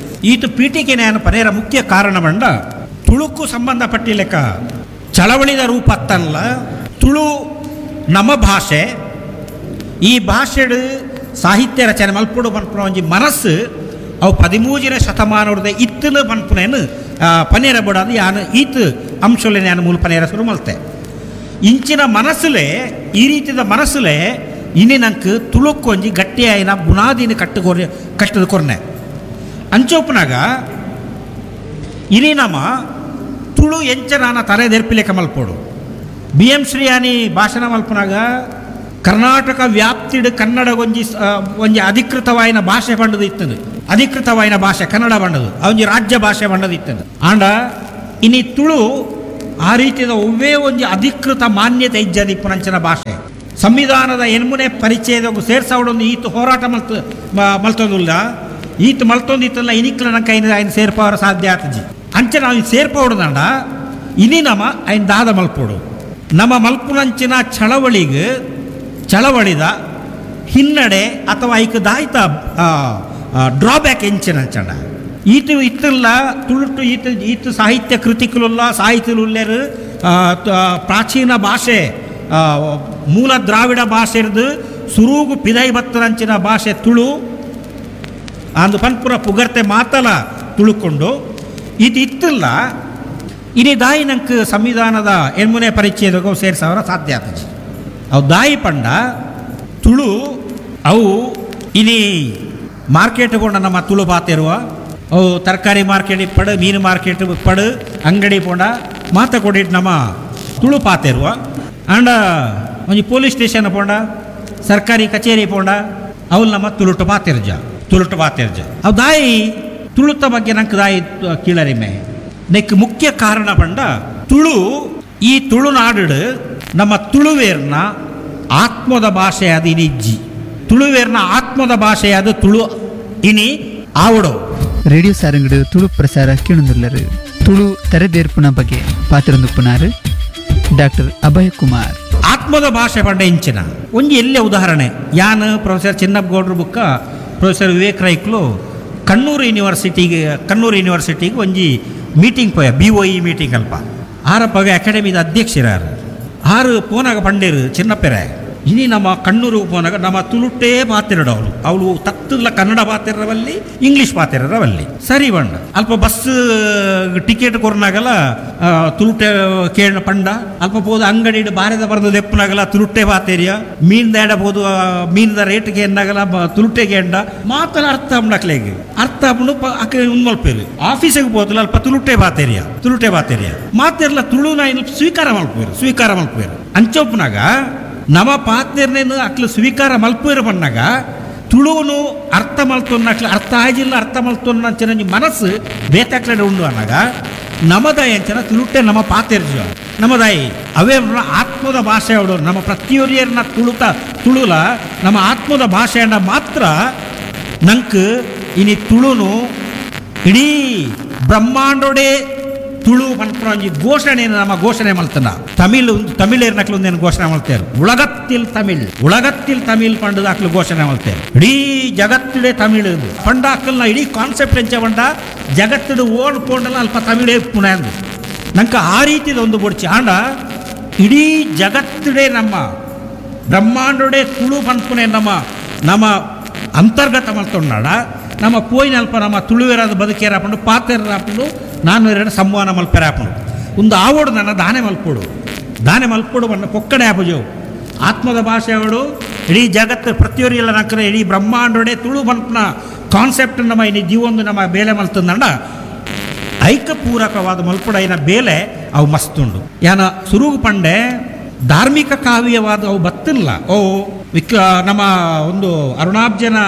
ಈತು ಪೀಠಿಕೆ ನ್ಯಾಯ ಪನೇರ ಮುಖ್ಯ ಕಾರಣ ಬಂಡ ತುಳುಕ್ಕೂ ಸಂಬಂಧಪಟ್ಟಿಲೆಕ್ಕ ಚಳವಳಿದ ರೂಪ ಅತ್ತಲ್ಲ ತುಳು ನಮ್ಮ ಭಾಷೆ ಈ ಭಾಷೆಡು ಸಾಹಿತ್ಯ ರಚನೆ ಮಲ್ಪುಡು ಪನ್ಪುನ ಒಂಜಿ ಮನಸ್ಸು ಅವು 13ನೇ ಶತಮಾನದ ಇತ್ತಲು ಪನ್ಪುನೇನು ಪನೇರ ಬಡದು ಯಾನು ಈತು ಅಂಶಲೆ ನಾನು ಮೂಲ ಪನೇರ ಶುರು ಮಲ್ತೆ. ಇಂಚಿನ ಮನಸ್ಸುಲೆ ಈ ರೀತಿಯ ಮನಸ್ಸುಲೆ ಇನ್ನಿ ನಂಗೆ ತುಳುಕ್ಕೊಂಜಿ ಗಟ್ಟಿಯಾಯಿನ ಬುನಾದಿನ ಕಟ್ಟದ ಕೊರ್ನೆ. ಅಂಚೋಪನಾಗ ಇನಿ ನಮ್ಮ ತುಳು ಎಂಚನಾನ ತಲೆದೆರ್ಪಿಲೆಕ ಮಲ್ಪೋಡು. ಬಿ ಎಂ ಶ್ರೀಯಾನಿ ಭಾಷಣ ಮಲ್ಪನಾಗ ಕರ್ನಾಟಕ ವ್ಯಾಪ್ತಿಡು ಕನ್ನಡ ಒಂಜಿ ಒಂಜಿ ಅಧಿಕೃತವಾಯಿನ ಭಾಷೆ ಬಂಡದು ಇತ್ತದು, ಅಧಿಕೃತವಾಯಿನ ಭಾಷೆ ಕನ್ನಡ ಬಂಡದು ಒಂಜಿ ರಾಜ್ಯ ಭಾಷೆ ಬಂಡದು ಇತ್ತದು. ಆಂಡ ಇನಿ ತುಳು ಆ ರೀತಿಯ ಒವ್ವೇ ಒಂಜಿ ಅಧಿಕೃತ ಮಾನ್ಯತೆ ಇಜ್ಜದಿಪ್ಪುನಂಚಿನ ಭಾಷೆ ಸಂವಿಧಾನದ ಎನ್ಮುನೆ ಪರಿಚಯದ ಸೇರ್ಸಾವಡೊಂದು ಈತ ಹೋರಾಟ ಮಲ್ತೊಂದುಲ್ಲ ಈತ ಮಲ್ತೊಂದಿತ್ತಲ್ಲ ಇನಿಕ್ಲ ನಂಗೆ ಐನ ಐನ ಸೇರ್ಪವರ ಸಾಧ್ಯ ಆತಜಿ. ಅಂಚೆ ನಾವು ಸೇರ್ಪವಡದಂಡ ಇನಿ ನಮ್ಮ ಐನ ದಾದ ಮಲ್ಪೋಡು ನಮ್ಮ ಮಲ್ಪುನಂಚಿನ ಚಳವಳಿಗೆ ಚಳವಳಿದ ಹಿನ್ನಡೆ ಅಥವಾ ಐಕ ದಾಯಿತ ಡ್ರಾಬ್ಯಾಕ್ ಎಂಚಿನ ಅಂಚಂಡ ಈತ ಇತ್ತಲ್ಲ ತುಳುಟು ಈತ ಈತ ಸಾಹಿತ್ಯ ಕೃತಿಕುಲುಲ್ಲ ಸಾಹಿತ್ಯಲುಲ್ಲೇರು ಪ್ರಾಚೀನ ಭಾಷೆ ಮೂಲ ದ್ರಾವಿಡ ಭಾಷೆ ಇರ್ದು ಸುರುಗು ಪಿದೈ ಬತ್ತರಂಚಿನ ಭಾಷೆ ತುಳು ಅಂದು ಪನ್ಪುರ ಪುಗರ್ತೆ ಮಾತಲ ತುಳುಕೊಂಡು ಇದು ಇತ್ತಲ್ಲ ಇನಿ ದಾಯಿ ನಂಗೆ ಸಂವಿಧಾನದ ಎನ್ಮುನೆ ಪರಿಚಯದಾಗ ಸೇರ್ಸವರ ಸಾಧ್ಯ ಆತಜಿ. ಅವು ದಾಯಿ ಪಂಡ ತುಳು ಅವು ಇನಿ ಮಾರ್ಕೆಟ್ ಕೊಂಡ ನಮ್ಮ ತುಳು ಪಾತಿರುವ ಅವು ತರಕಾರಿ ಮಾರ್ಕೆಟ್ ಪಡು ಮೀನು ಮಾರ್ಕೆಟ್ ಪಡು ಅಂಗಡಿ ಪೋಂಡ ಮಾತ ಕೊಡಿಟ್ಟು ನಮ್ಮ ತುಳು ಪಾತಿರುವ ಆಂಡ ಒಂಜಿ ಪೊಲೀಸ್ ಸ್ಟೇಷನ್ ಪೋಂಡ ಸರ್ಕಾರಿ ಕಚೇರಿ ಪೋಂಡ ಅವು ನಮ್ಮ ತುಳುಟು ಪಾತಿರ್ಜ ತುಳುಟು ಪಾತಿರ್ಜ ಅವು ದಾಯಿ ತುಳುತ್ತ ಬಗ್ಗೆ ನಂಗೆ ದಾಯಿ ಕೀಳರಿಮೆ ನೆಕ್ ಮುಖ್ಯ ಕಾರಣ ಪಂಡ ತುಳು ಈ ತುಳುನಾಡು ನಮ್ಮ ತುಳುವೇರ್ನ ಆತ್ಮದ ಭಾಷೆ ಅದು ಇನಿಜ್ಜಿ ತುಳುವೇರ್ನ ಆತ್ಮದ ಭಾಷೆ ಅದು ತುಳು ಇನಿ ಆವಡೋ. ರೇಡಿಯೋ ಸಾರಂಗಡು ತುಳು ಪ್ರಸಾರ ಕೇಳುಂದುಲ್ಲರು ತುಳು ತರೆದೇರ್ಪುನ ಬಗ್ಗೆ ಪಾತ್ರೊಂದುಪ್ಪುನಾರು ಡಾಕ್ಟರ್ ಅಭಯ್ ಕುಮಾರ್. ಆತ್ಮದ ಭಾಷೆ ಪಂಡ ಇಂಚಿನ ಒಂಜಿ ಎಲ್ಲೇ ಉದಾಹರಣೆ ಯಾನ್ ಪ್ರೊಫೆಸರ್ ಚಿನ್ನಪ್ಪಗೌಡ್ರ ಬುಕ್ಕ ಪ್ರೊಫೆಸರ್ ವಿವೇಕ್ ರೈಕ್ಲು ಕಣ್ಣೂರು ಯೂನಿವರ್ಸಿಟಿಗೆ ಒಂಜಿ ಮೀಟಿಂಗ್ ಪೋಯ BOE meeting ಅಲ್ಪ ಆರಪ್ಪಗ ಅಕಾಡೆಮಿದ ಅಧ್ಯಕ್ಷರಾರು ಆರು ಪೋನಾಗ ಪಂಡೇರು ಚಿನ್ನಪ್ಪೆರೆ ಇನಿ ನಮ್ಮ ಕಣ್ಣೂರು ಪೋನಾಗ ನಮ್ಮ ತುಳುಟೇ ಪಾತೆರಡು ಅವಳು ಅವಳು ತತ್ತಲ ಕನ್ನಡ ಪಾತೆರವಲ್ಲಿ ಇಂಗ್ಲೀಷ್ ಪಾತೆರವಲ್ಲಿ ಸರಿ ಬಣ್ಣ ಅಲ್ಪ ಬಸ್ ಟಿಕೆಟ್ ಕೊರ್ನಾಗಲ ತುಳುಟೆ ಕೇಳ ಪಂಡ ಅಲ್ಪ ಪೋದು ಅಂಗಡಿ ಬಾರದ ಬರೆದು ದೆಪ್ಪನಾಗಲ ತುಳುಟೆ ಪಾತೆರಿಯ ಮೀನ್ ಬೋದು ಮೀನ್ದ ರೇಟ್ಗೆ ಎನ್ನಾಗಲ ತುಳುಟೆಗೆ ಎಂಡ ಮಾತಲ್ಲ ಅರ್ಥ ಅಪ್ಪ ಅರ್ಥ ಆಪುಂಡು ಅಕ್ಕ ಮಲ್ಪೇರು ಆಫೀಸಿಗೆ ಹೋದಲ್ಲ ಅಲ್ಪ ತುಳುಟೆ ಪಾತೆರಿಯ ತುಳುಟೆ ಪಾತೆರಿಯ ಮಾತೆರ್ಲ ತುಳುನ ಸ್ವೀಕಾರ ಮಲ್ಪೇರು ಸ್ವೀಕಾರ ಮಲ್ಪೇರು ಅಂಚೊಪ್ಪನಾಗ ನಮ್ಮ ಪಾತ್ನೇರ್ನೇನು ಅಕ್ಲು ಸ್ವೀಕಾರ ಮಲ್ಪೇರು ಬಂದಾಗ ತುಳುವನು ಅರ್ಥ ಮಲ್ತೊನ್ನ ಅಕ್ಲು ಅರ್ಥ ಆಜಿಲ್ಲ ಅರ್ಥ ಮಲ್ತೊನ್ನ ಅಂಚನ ಮನಸ್ಸು ಬೇತಾಕ್ಲಡೆ ಉಂಡು ಅನ್ನಾಗ ನಮದಾಯಿ ಅಂಚನ ತುಳುಟೆ ನಮ್ಮ ಪಾತೆರ್ಜ ನಮದಾಯಿ ಅವೇ ಆತ್ಮದ ಭಾಷೆ ಅವಳು ನಮ್ಮ ಪ್ರತಿಯೊರಿಯರ್ನ ತುಳುತ ತುಳುಲ ನಮ್ಮ ಆತ್ಮದ ಭಾಷೆಯನ್ನ ಮಾತ್ರ ನಂಕ್ ಇನಿ ತುಳುನು ಇಡೀ ಬ್ರಹ್ಮಾಂಡೋಡೆ ತುಳು ಪನ್ಪುನ ಒಂಜಿ ಘೋಷಣೆಯನ್ನು ನಮ್ಮ ಘೋಷಣೆ ಮಲ್ತನ ತಮಿಳ್ ತಮಿಳೇರ್ನಕ್ಲು ಒಂದೇನು ಘೋಷಣೆ ಮಲ್ತೇರು ಉಳಗತ್ತಿಲ್ ತಮಿಳ್ ಉಳಗತ್ತಿಲ್ ತಮಿಳ್ ಪಂಡದ ಅಕ್ಲು ಘೋಷಣೆ ಮಲ್ತೇರು ಇಡೀ ಜಗತ್ತಿಡೆ ತಮಿಳ್ ಪಂಡ ಅಕ್ಕಲ್ನ ಇಡೀ ಕಾನ್ಸೆಪ್ಟ್ ಎಂಚ ಪಂಡ ಜಗತ್ತಿಡು ಓಡ್ ಪೋಂಡಲ ಅಲ್ಪ ತಮಿಳೇ ಪುಣೆ ಅಂದು ನಂಗೆ ಆ ರೀತಿದ ಒಂದು ಬೊಡ್ಚಿ ಆಂಡ ಇಡೀ ಜಗತ್ತಿಡೆ ನಮ್ಮ ಬ್ರಹ್ಮಾಂಡೋಡೆ ತುಳು ಪನ್ಪುನೆ ನಮ್ಮ ನಮ್ಮ ಅಂತರ್ಗತ ಮಲ್ತೊಂಡಾಡ ನಮ್ಮ ಪೋಯಿನ ಅಲ್ಪ ನಮ್ಮ ತುಳುವೆರಾದ ಬದುಕೇರ ಹಾಕೊಂಡು ಪಾತೆರ ಹಾಕೊಂಡು ನಾನು ಎರಡು ಸಂವಹನ ಮಲ್ಪೆರ ಹಾಕೊಂಡು ಒಂದು ಆವೋಡು ನನ್ನ ದಾನೆ ಮಲ್ಪೋಡು ದಾನೆ ಮಲ್ಪೋಡು ಬಣ್ಣ ಪೊಕ್ಕಡೆ ಆಪುಜವು ಆತ್ಮದ ಭಾಷೆಯವಳು ಇಡೀ ಜಗತ್ತು ಪ್ರತಿಯೊರಿಯಲ್ಲ ನಕ್ಕರೆ ಇಡೀ ಬ್ರಹ್ಮಾಂಡೋಡೆ ತುಳು ಮಲ್ಪನ ಕಾನ್ಸೆಪ್ಟ್ ನಮ್ಮ ಇನ್ನು ಜೀವೊಂದು ನಮ್ಮ ಬೇಲೆ ಮಲ್ತಂದಂಡ ಐಕಪೂರಕವಾದ ಮಲ್ಪುಡೈನ ಬೇಲೆ ಅವು ಮಸ್ತುಂಡು ಯಾನ ಸುರುಗು ಪಂಡೆ ಧಾರ್ಮಿಕ ಕಾವ್ಯವಾದ ಅವು ಬತ್ತಿಲ್ಲ ಓ ವಿಕ್ ನಮ್ಮ ಒಂದು ಅರುಣಾಬ್ಜನ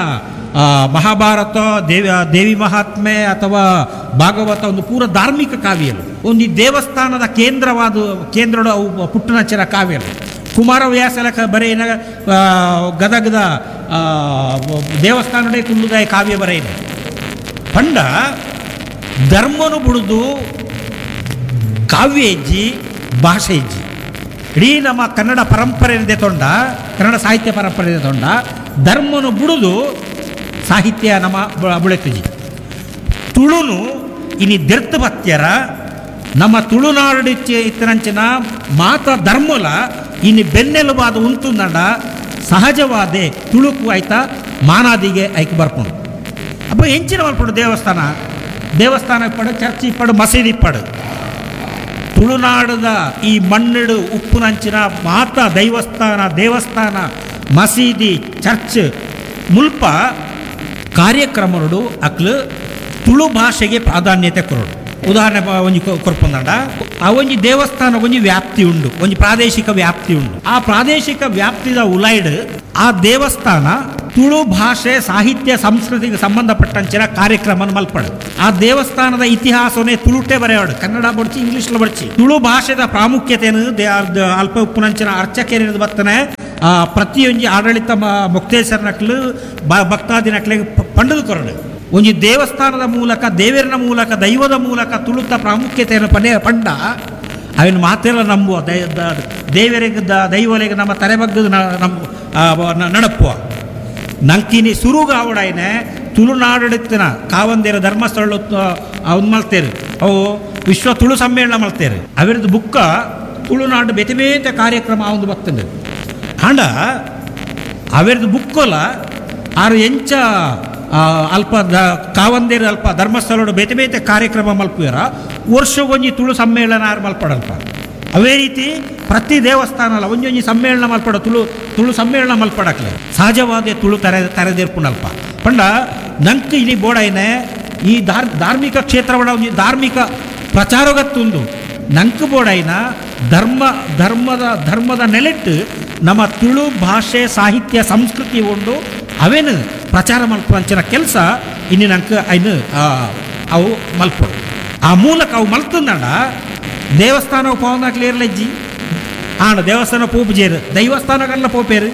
ಮಹಾಭಾರತ ದೇವಿ ದೇವಿ ಮಹಾತ್ಮೆ ಅಥವಾ ಭಾಗವತ ಒಂದು ಪೂರ ಧಾರ್ಮಿಕ ಕಾವ್ಯలు ಒಂದು ಈ ದೇವಸ್ಥಾನದ ಕೇಂದ್ರವಾದ ಕೇಂದ್ರಡು ಅವು ಪುಟ್ಟನಚ್ಚರ ಕಾವ್ಯలు ಕುಮಾರವ್ಯಾಸಲ ಬರೆಯಿನ ಗದಗದ ದೇವಸ್ಥಾನಡೆ ಕುಲ್ಲುದಾಯ ಕಾವ್ಯ ಬರೆಯಿನ ಪಂಡ ಧರ್ಮನು ಬುಡುದು ಕಾವ್ಯ ಹೆಜ್ಜಿ ಭಾಷೆ ಹೆಜ್ಜಿ ಇಡೀ ನಮ್ಮ ಕನ್ನಡ ಪರಂಪರೆ ತೊಂಡ ಕನ್ನಡ ಸಾಹಿತ್ಯ ಪರಂಪರೆ ತೊಂಡ ಧರ್ಮನು ಬುಡುದು ಸಾಹಿತ್ಯ ನಮ್ಮ ಬುಳೆತಜಿ ತುಳುನು ಇನಿ ದೆರ್ತು ಬತ್ಯರ ನಮ್ಮ ತುಳುನಾಡು ಇತ್ತರಂಚಿನ ಮಾತ ಧರ್ಮಲ ಇನಿ ಬೆನ್ನೆಲುಬಾದ ಉಂತುಂದಂಡ ಸಹಜವಾದೆ ತುಳುಕು ಆಯ್ತಾ ಮಾನಾದಿಗೆ ಐಕ್ ಬರ್ಪುಂಡು ಅಪ್ಪ ಎಂಚಿನ ಮಲ್ಪುಂಡು ದೇವಸ್ಥಾನ ದೇವಸ್ಥಾನ ಇಪ್ಪಡು ಚರ್ಚ್ ಇಪ್ಪಡು ಮಸೀದಿ ಇಪ್ಪಡು ತುಳುನಾಡದ ಈ ಮಣ್ಣಿಡು ಉಪ್ಪುನಂಚಿನ ಮಾತ ದೈವಸ್ಥಾನ ದೇವಸ್ಥಾನ ಮಸೀದಿ ಚರ್ಚ್ ಮುಲ್ಪ ಕಾರ್ಯಕ್ರಮಗಳು ಅಕ್ಲು ತುಳು ಭಾಷೆಗೆ ಪ್ರಾಧಾನ್ಯತೆ ಕೊರಡು ಉದಾಹರಣೆ ಒಂಜಿ ಕೊರ್ಪುಂದಂಡ ಆ ಒಂಜಿ ದೇವಸ್ಥಾನ ಒಂಜಿ ವ್ಯಾಪ್ತಿ ಉಂಡು ಒಂಜಿ ಪ್ರಾದೇಶಿಕ ವ್ಯಾಪ್ತಿ ಉಂಡು ಆ ಪ್ರಾದೇಶಿಕ ವ್ಯಾಪ್ತಿದ ಉಲೈಡ್ ಆ ದೇವಸ್ಥಾನ ತುಳು ಭಾಷೆ ಸಾಹಿತ್ಯ ಸಂಸ್ಕೃತಿಗೆ ಸಂಬಂಧಪಟ್ಟಂಚಿನ ಕಾರ್ಯಕ್ರಮ ಮಲ್ಪಡು ಆ ದೇವಸ್ಥಾನದ ಇತಿಹಾಸವನ್ನೇ ತುಳುಟೆ ಬರೆಯಾಡು ಕನ್ನಡ ಬಡ್ಚಿ ಇಂಗ್ಲೀಷ್ ಬಡ್ಚಿ ತುಳು ಭಾಷೆದ ಪ್ರಾಮುಖ್ಯತೆಯನ್ನು ಅಲ್ಪ ಉಪ್ಪುನಂಚಿನ ಅರ್ಚಕೇರಿನ ಬತ್ತನೆ ಆ ಪ್ರತಿಯೊಂಜಿ ಆಡಳಿತ ಮೊಕ್ತೇಸರ್ನಕ್ಲು ಭಕ್ತಾದಿನಕ್ಲಿಗೆ ಪಂಡದು ಕೊರಡು ಒಂಜಿ ದೇವಸ್ಥಾನದ ಮೂಲಕ ದೇವರನ ಮೂಲಕ ದೈವದ ಮೂಲಕ ತುಳುತ ಪ್ರಾಮುಖ್ಯತೆಯನ್ನು ಪನೆ ಪಂಡ ಅವನ ಮಾತೆಲ್ಲ ನಂಬುವ ದೇವರಿಗೆ ದೈವರಿಗೆ ನಮ್ಮ ತಲೆಬಗ್ಗದ ನಮ್ಮ ನಡಪ್ಪುವ ನಂಕಿನಿ ಸುರುಗಾವಡಾಯ್ನೆ ತುಳುನಾಡಡಿತ್ತಿನ ಕಾವಂದೇರ ಧರ್ಮಸ್ಥಳ ಅವ್ನು ಮಲ್ತೇರು ಅವು ವಿಶ್ವ ತುಳು ಸಮ್ಮೇಳನ ಮಲ್ತೇರು ಅವರದ್ದು ಬುಕ್ಕ ತುಳುನಾಡು ಬೇತೆ ಬೇತೆ ಕಾರ್ಯಕ್ರಮ ಅವನು ಬರ್ತದೆ ಆಂಡ ಅವರದ್ದು ಬುಕ್ಕೊಲ ಆರು ಎಂಚ ಅಲ್ಪ ಕಾವಂದೇರು ಅಲ್ಪ ಧರ್ಮಸ್ಥಳ ಬೇತೆ ಬೇತೆ ಕಾರ್ಯಕ್ರಮ ಮಲ್ಪುವಾರ ವರ್ಷಗೊಂಜಿ ತುಳು ಸಮ್ಮೇಳನ ಆರು ಮಲ್ಪಡಲ್ಪ ಅವೇ ರೀತಿ ಪ್ರತಿ ದೇವಸ್ಥಾನ ಒಂಜೊಂಜಿ ಸಮ್ಮೇಳನ ಮಲ್ಪಡ ತುಳು ತುಳು ಸಮ್ಮೇಳನ ಮಲ್ಪಡಕ್ಲೆ ಸಹಜವಾದ ತುಳು ತರೆದೇರ್ಪುಣಲ್ಪ ಪಂಡ ನಂಕ್ ಇಲ್ಲಿ ಬೋಡೈನೆ ಈ ಧಾರ್ಮಿಕ ಕ್ಷೇತ್ರವಡ ಒಂಜಿ ಧಾರ್ಮಿಕ ಪ್ರಚಾರಗತ್ತುಂದು ನಂಕ್ ಬೋಡೈನ ಧರ್ಮ ಧರ್ಮದ ಧರ್ಮದ ನೆಲೆಟ್ಟು ನಮ್ಮ ತುಳು ಭಾಷೆ ಸಾಹಿತ್ಯ ಸಂಸ್ಕೃತಿ ಉಂಡು ಅವೇನು ಪ್ರಚಾರ ಮಲ್ಪಂಚಿನ ಕೆಲಸ ಇನ್ನು ನಂಕ್ ಐನು ಅವು ಮಲ್ಪಡು ಆ ಮೂಲಕ ಅವು ಮಲ್ತಂದಂಡ ದೇವಸ್ಥಾನ ಪವನಾಕ್ಲಿ ಇರಲಜ್ಜಿ ಆಣ ದೇವಸ್ಥಾನ ಪೋಪುಜೇರು ದೈವಸ್ಥಾನಗಲ್ಲ ಪೋಪೇರು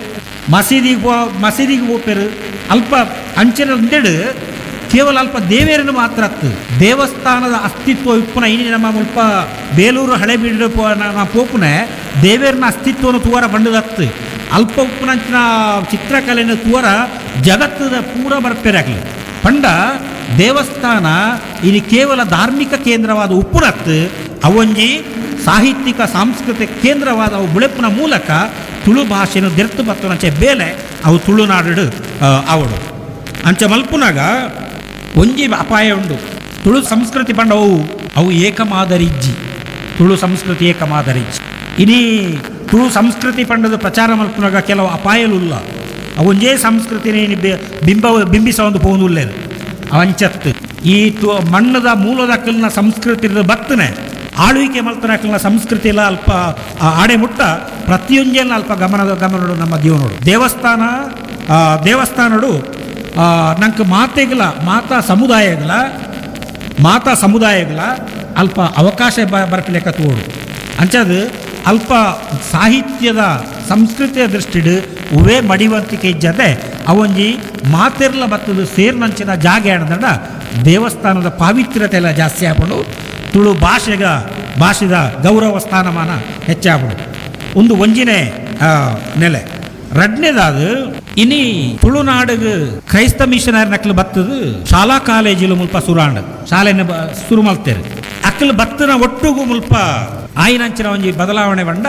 ಮಸೀದಿಗೆ ಪೋ ಮಸೀದಿಗೆ ಪೋಪೇರು ಅಲ್ಪ ಅಂಚಿನ ಒಂದೆಡು ಕೇವಲ ಅಲ್ಪ ದೇವೇರನ್ನು ಮಾತ್ರ ಅತ್ತು ದೇವಸ್ಥಾನದ ಅಸ್ತಿತ್ವ ಇಪ್ಪುನ ಇನಿ ನಮ್ಮ ಮುಲ್ಪ ಬೇಲೂರು ಹಳೆಬೀಡು ಪೋಪುನೆ ದೇವೇರನ ಅಸ್ತಿತ್ವವನ್ನು ತೂವರ ಬಂಡದತ್ತು ಅಲ್ಪ ಉಪ್ಪುನಂಚಿನ ಚಿತ್ರಕಲೆಯನ್ನು ತೂವರ ಜಗತ್ತದ ಪೂರ ಬರ್ಪೇರಾಗಲಿ ಪಂಡ ದೇವಸ್ಥಾನ ಇಲ್ಲಿ ಕೇವಲ ಧಾರ್ಮಿಕ ಕೇಂದ್ರವಾದ ಉಪ್ಪುನತ್ತು ಅವೊಂಜಿ ಸಾಹಿತ್ಯಿಕ ಸಾಂಸ್ಕೃತಿಕ ಕೇಂದ್ರವಾದ ಅವು ಬುಳೆಪ್ಪುನ ಮೂಲಕ ತುಳು ಭಾಷೆನು ದೆರ್ತು ಬತ್ತುನಂಚೆ ಬೇಲೆ ಅವು ತುಳುನಾಡು ಅವಡು. ಅಂಚೆ ಮಲ್ಪುನಾಗ ಒಂಜಿ ಅಪಾಯ ಉಂಡು. ತುಳು ಸಂಸ್ಕೃತಿ ಪಂಡ ಅವು ಅವು ಏಕಮಾದರಿಜ್ಜಿ, ತುಳು ಸಂಸ್ಕೃತಿ ಏಕಮಾದರಿಜ್ಜಿ. ಇಡೀ ತುಳು ಸಂಸ್ಕೃತಿ ಪಂಡದ ಪ್ರಚಾರ ಮಲ್ಪುನಾಗ ಕೆಲವು ಅಪಾಯಲುಲ್ಲ. ಅವೊಂಜೇ ಸಂಸ್ಕೃತಿನೇ ಬಿಂಬ ಬಿಂಬಿಸ ಒಂದು ಪೋನುಲ್ಲೇರು ಅವಂಚತ್ತು ಈ ಮಣ್ಣದ ಮೂಲದಕ್ಕಲ್ನ ಸಂಸ್ಕೃತಿ ಬತ್ತನೆ ಆಳ್ವಿಕೆ ಮಲ್ತನಕ್ಕಲ್ನ ಸಂಸ್ಕೃತಿ ಎಲ್ಲ ಅಲ್ಪ ಆಡೆ ಮುಟ್ಟ ಪ್ರತಿಯೊಂಜೆಲ್ಲ ಅಲ್ಪ ಗಮನದ ಗಮನಡು ನಮ್ಮ ಜೀವನೋಡು. ದೇವಸ್ಥಾನ ದೇವಸ್ಥಾನಡು ನಂಗೆ ಮಾತೆಗಳ ಮಾತಾ ಸಮುದಾಯಗಳ ಮಾತಾ ಸಮುದಾಯಗಳ ಅಲ್ಪ ಅವಕಾಶ ಬರಪಿಲೆಕ್ಕ ತೋಡು. ಅಂಚದು ಅಲ್ಪ ಸಾಹಿತ್ಯದ ಸಂಸ್ಕೃತಿಯ ದೃಷ್ಟಿಡು ಉವೇ ಮಡಿವಂತಿಕೆ ಇಜ್ಜದೆ ಅವೊಂಜಿ ಮಾತೆರ್ಲ ಬತ್ತದು ಸೇರ್ನಂಚಿನ ಜಾಗೆ ಆಡದಂಡ ದೇವಸ್ಥಾನದ ಪಾವಿತ್ರ್ಯತೆ ಎಲ್ಲ ಜಾಸ್ತಿ ಆಗ್ಬಿಡು, ತುಳು ಭಾಷೆಗ ಭಾಷೆದ ಗೌರವ ಸ್ಥಾನಮಾನ ಹೆಚ್ಚಾಗ್ಬಿಡು. ಒಂದು ಒಂಜಿನೇ ನೆಲೆ. ರಡ್ನೇದಾದ ಇನಿ ತುಳುನಾಡಿಗೆ ಕ್ರೈಸ್ತ ಮಿಷನರಿ ನಕ್ಲು ಬತ್ತದು ಶಾಲಾ ಕಾಲೇಜಿಲು ಮುಲ್ಪ ಸುರಾಂಡ್ ಶಾಲೆನ ಸುರು ಮಲ್ತೇರು. ಅಕ್ಕಲು ಬತ್ತನ ಒಟ್ಟುಗು ಮುಲ್ಪ ಆಯಿನಂಚಿನ ಒಂಜಿ ಬದಲಾವಣೆ ಬಂಡ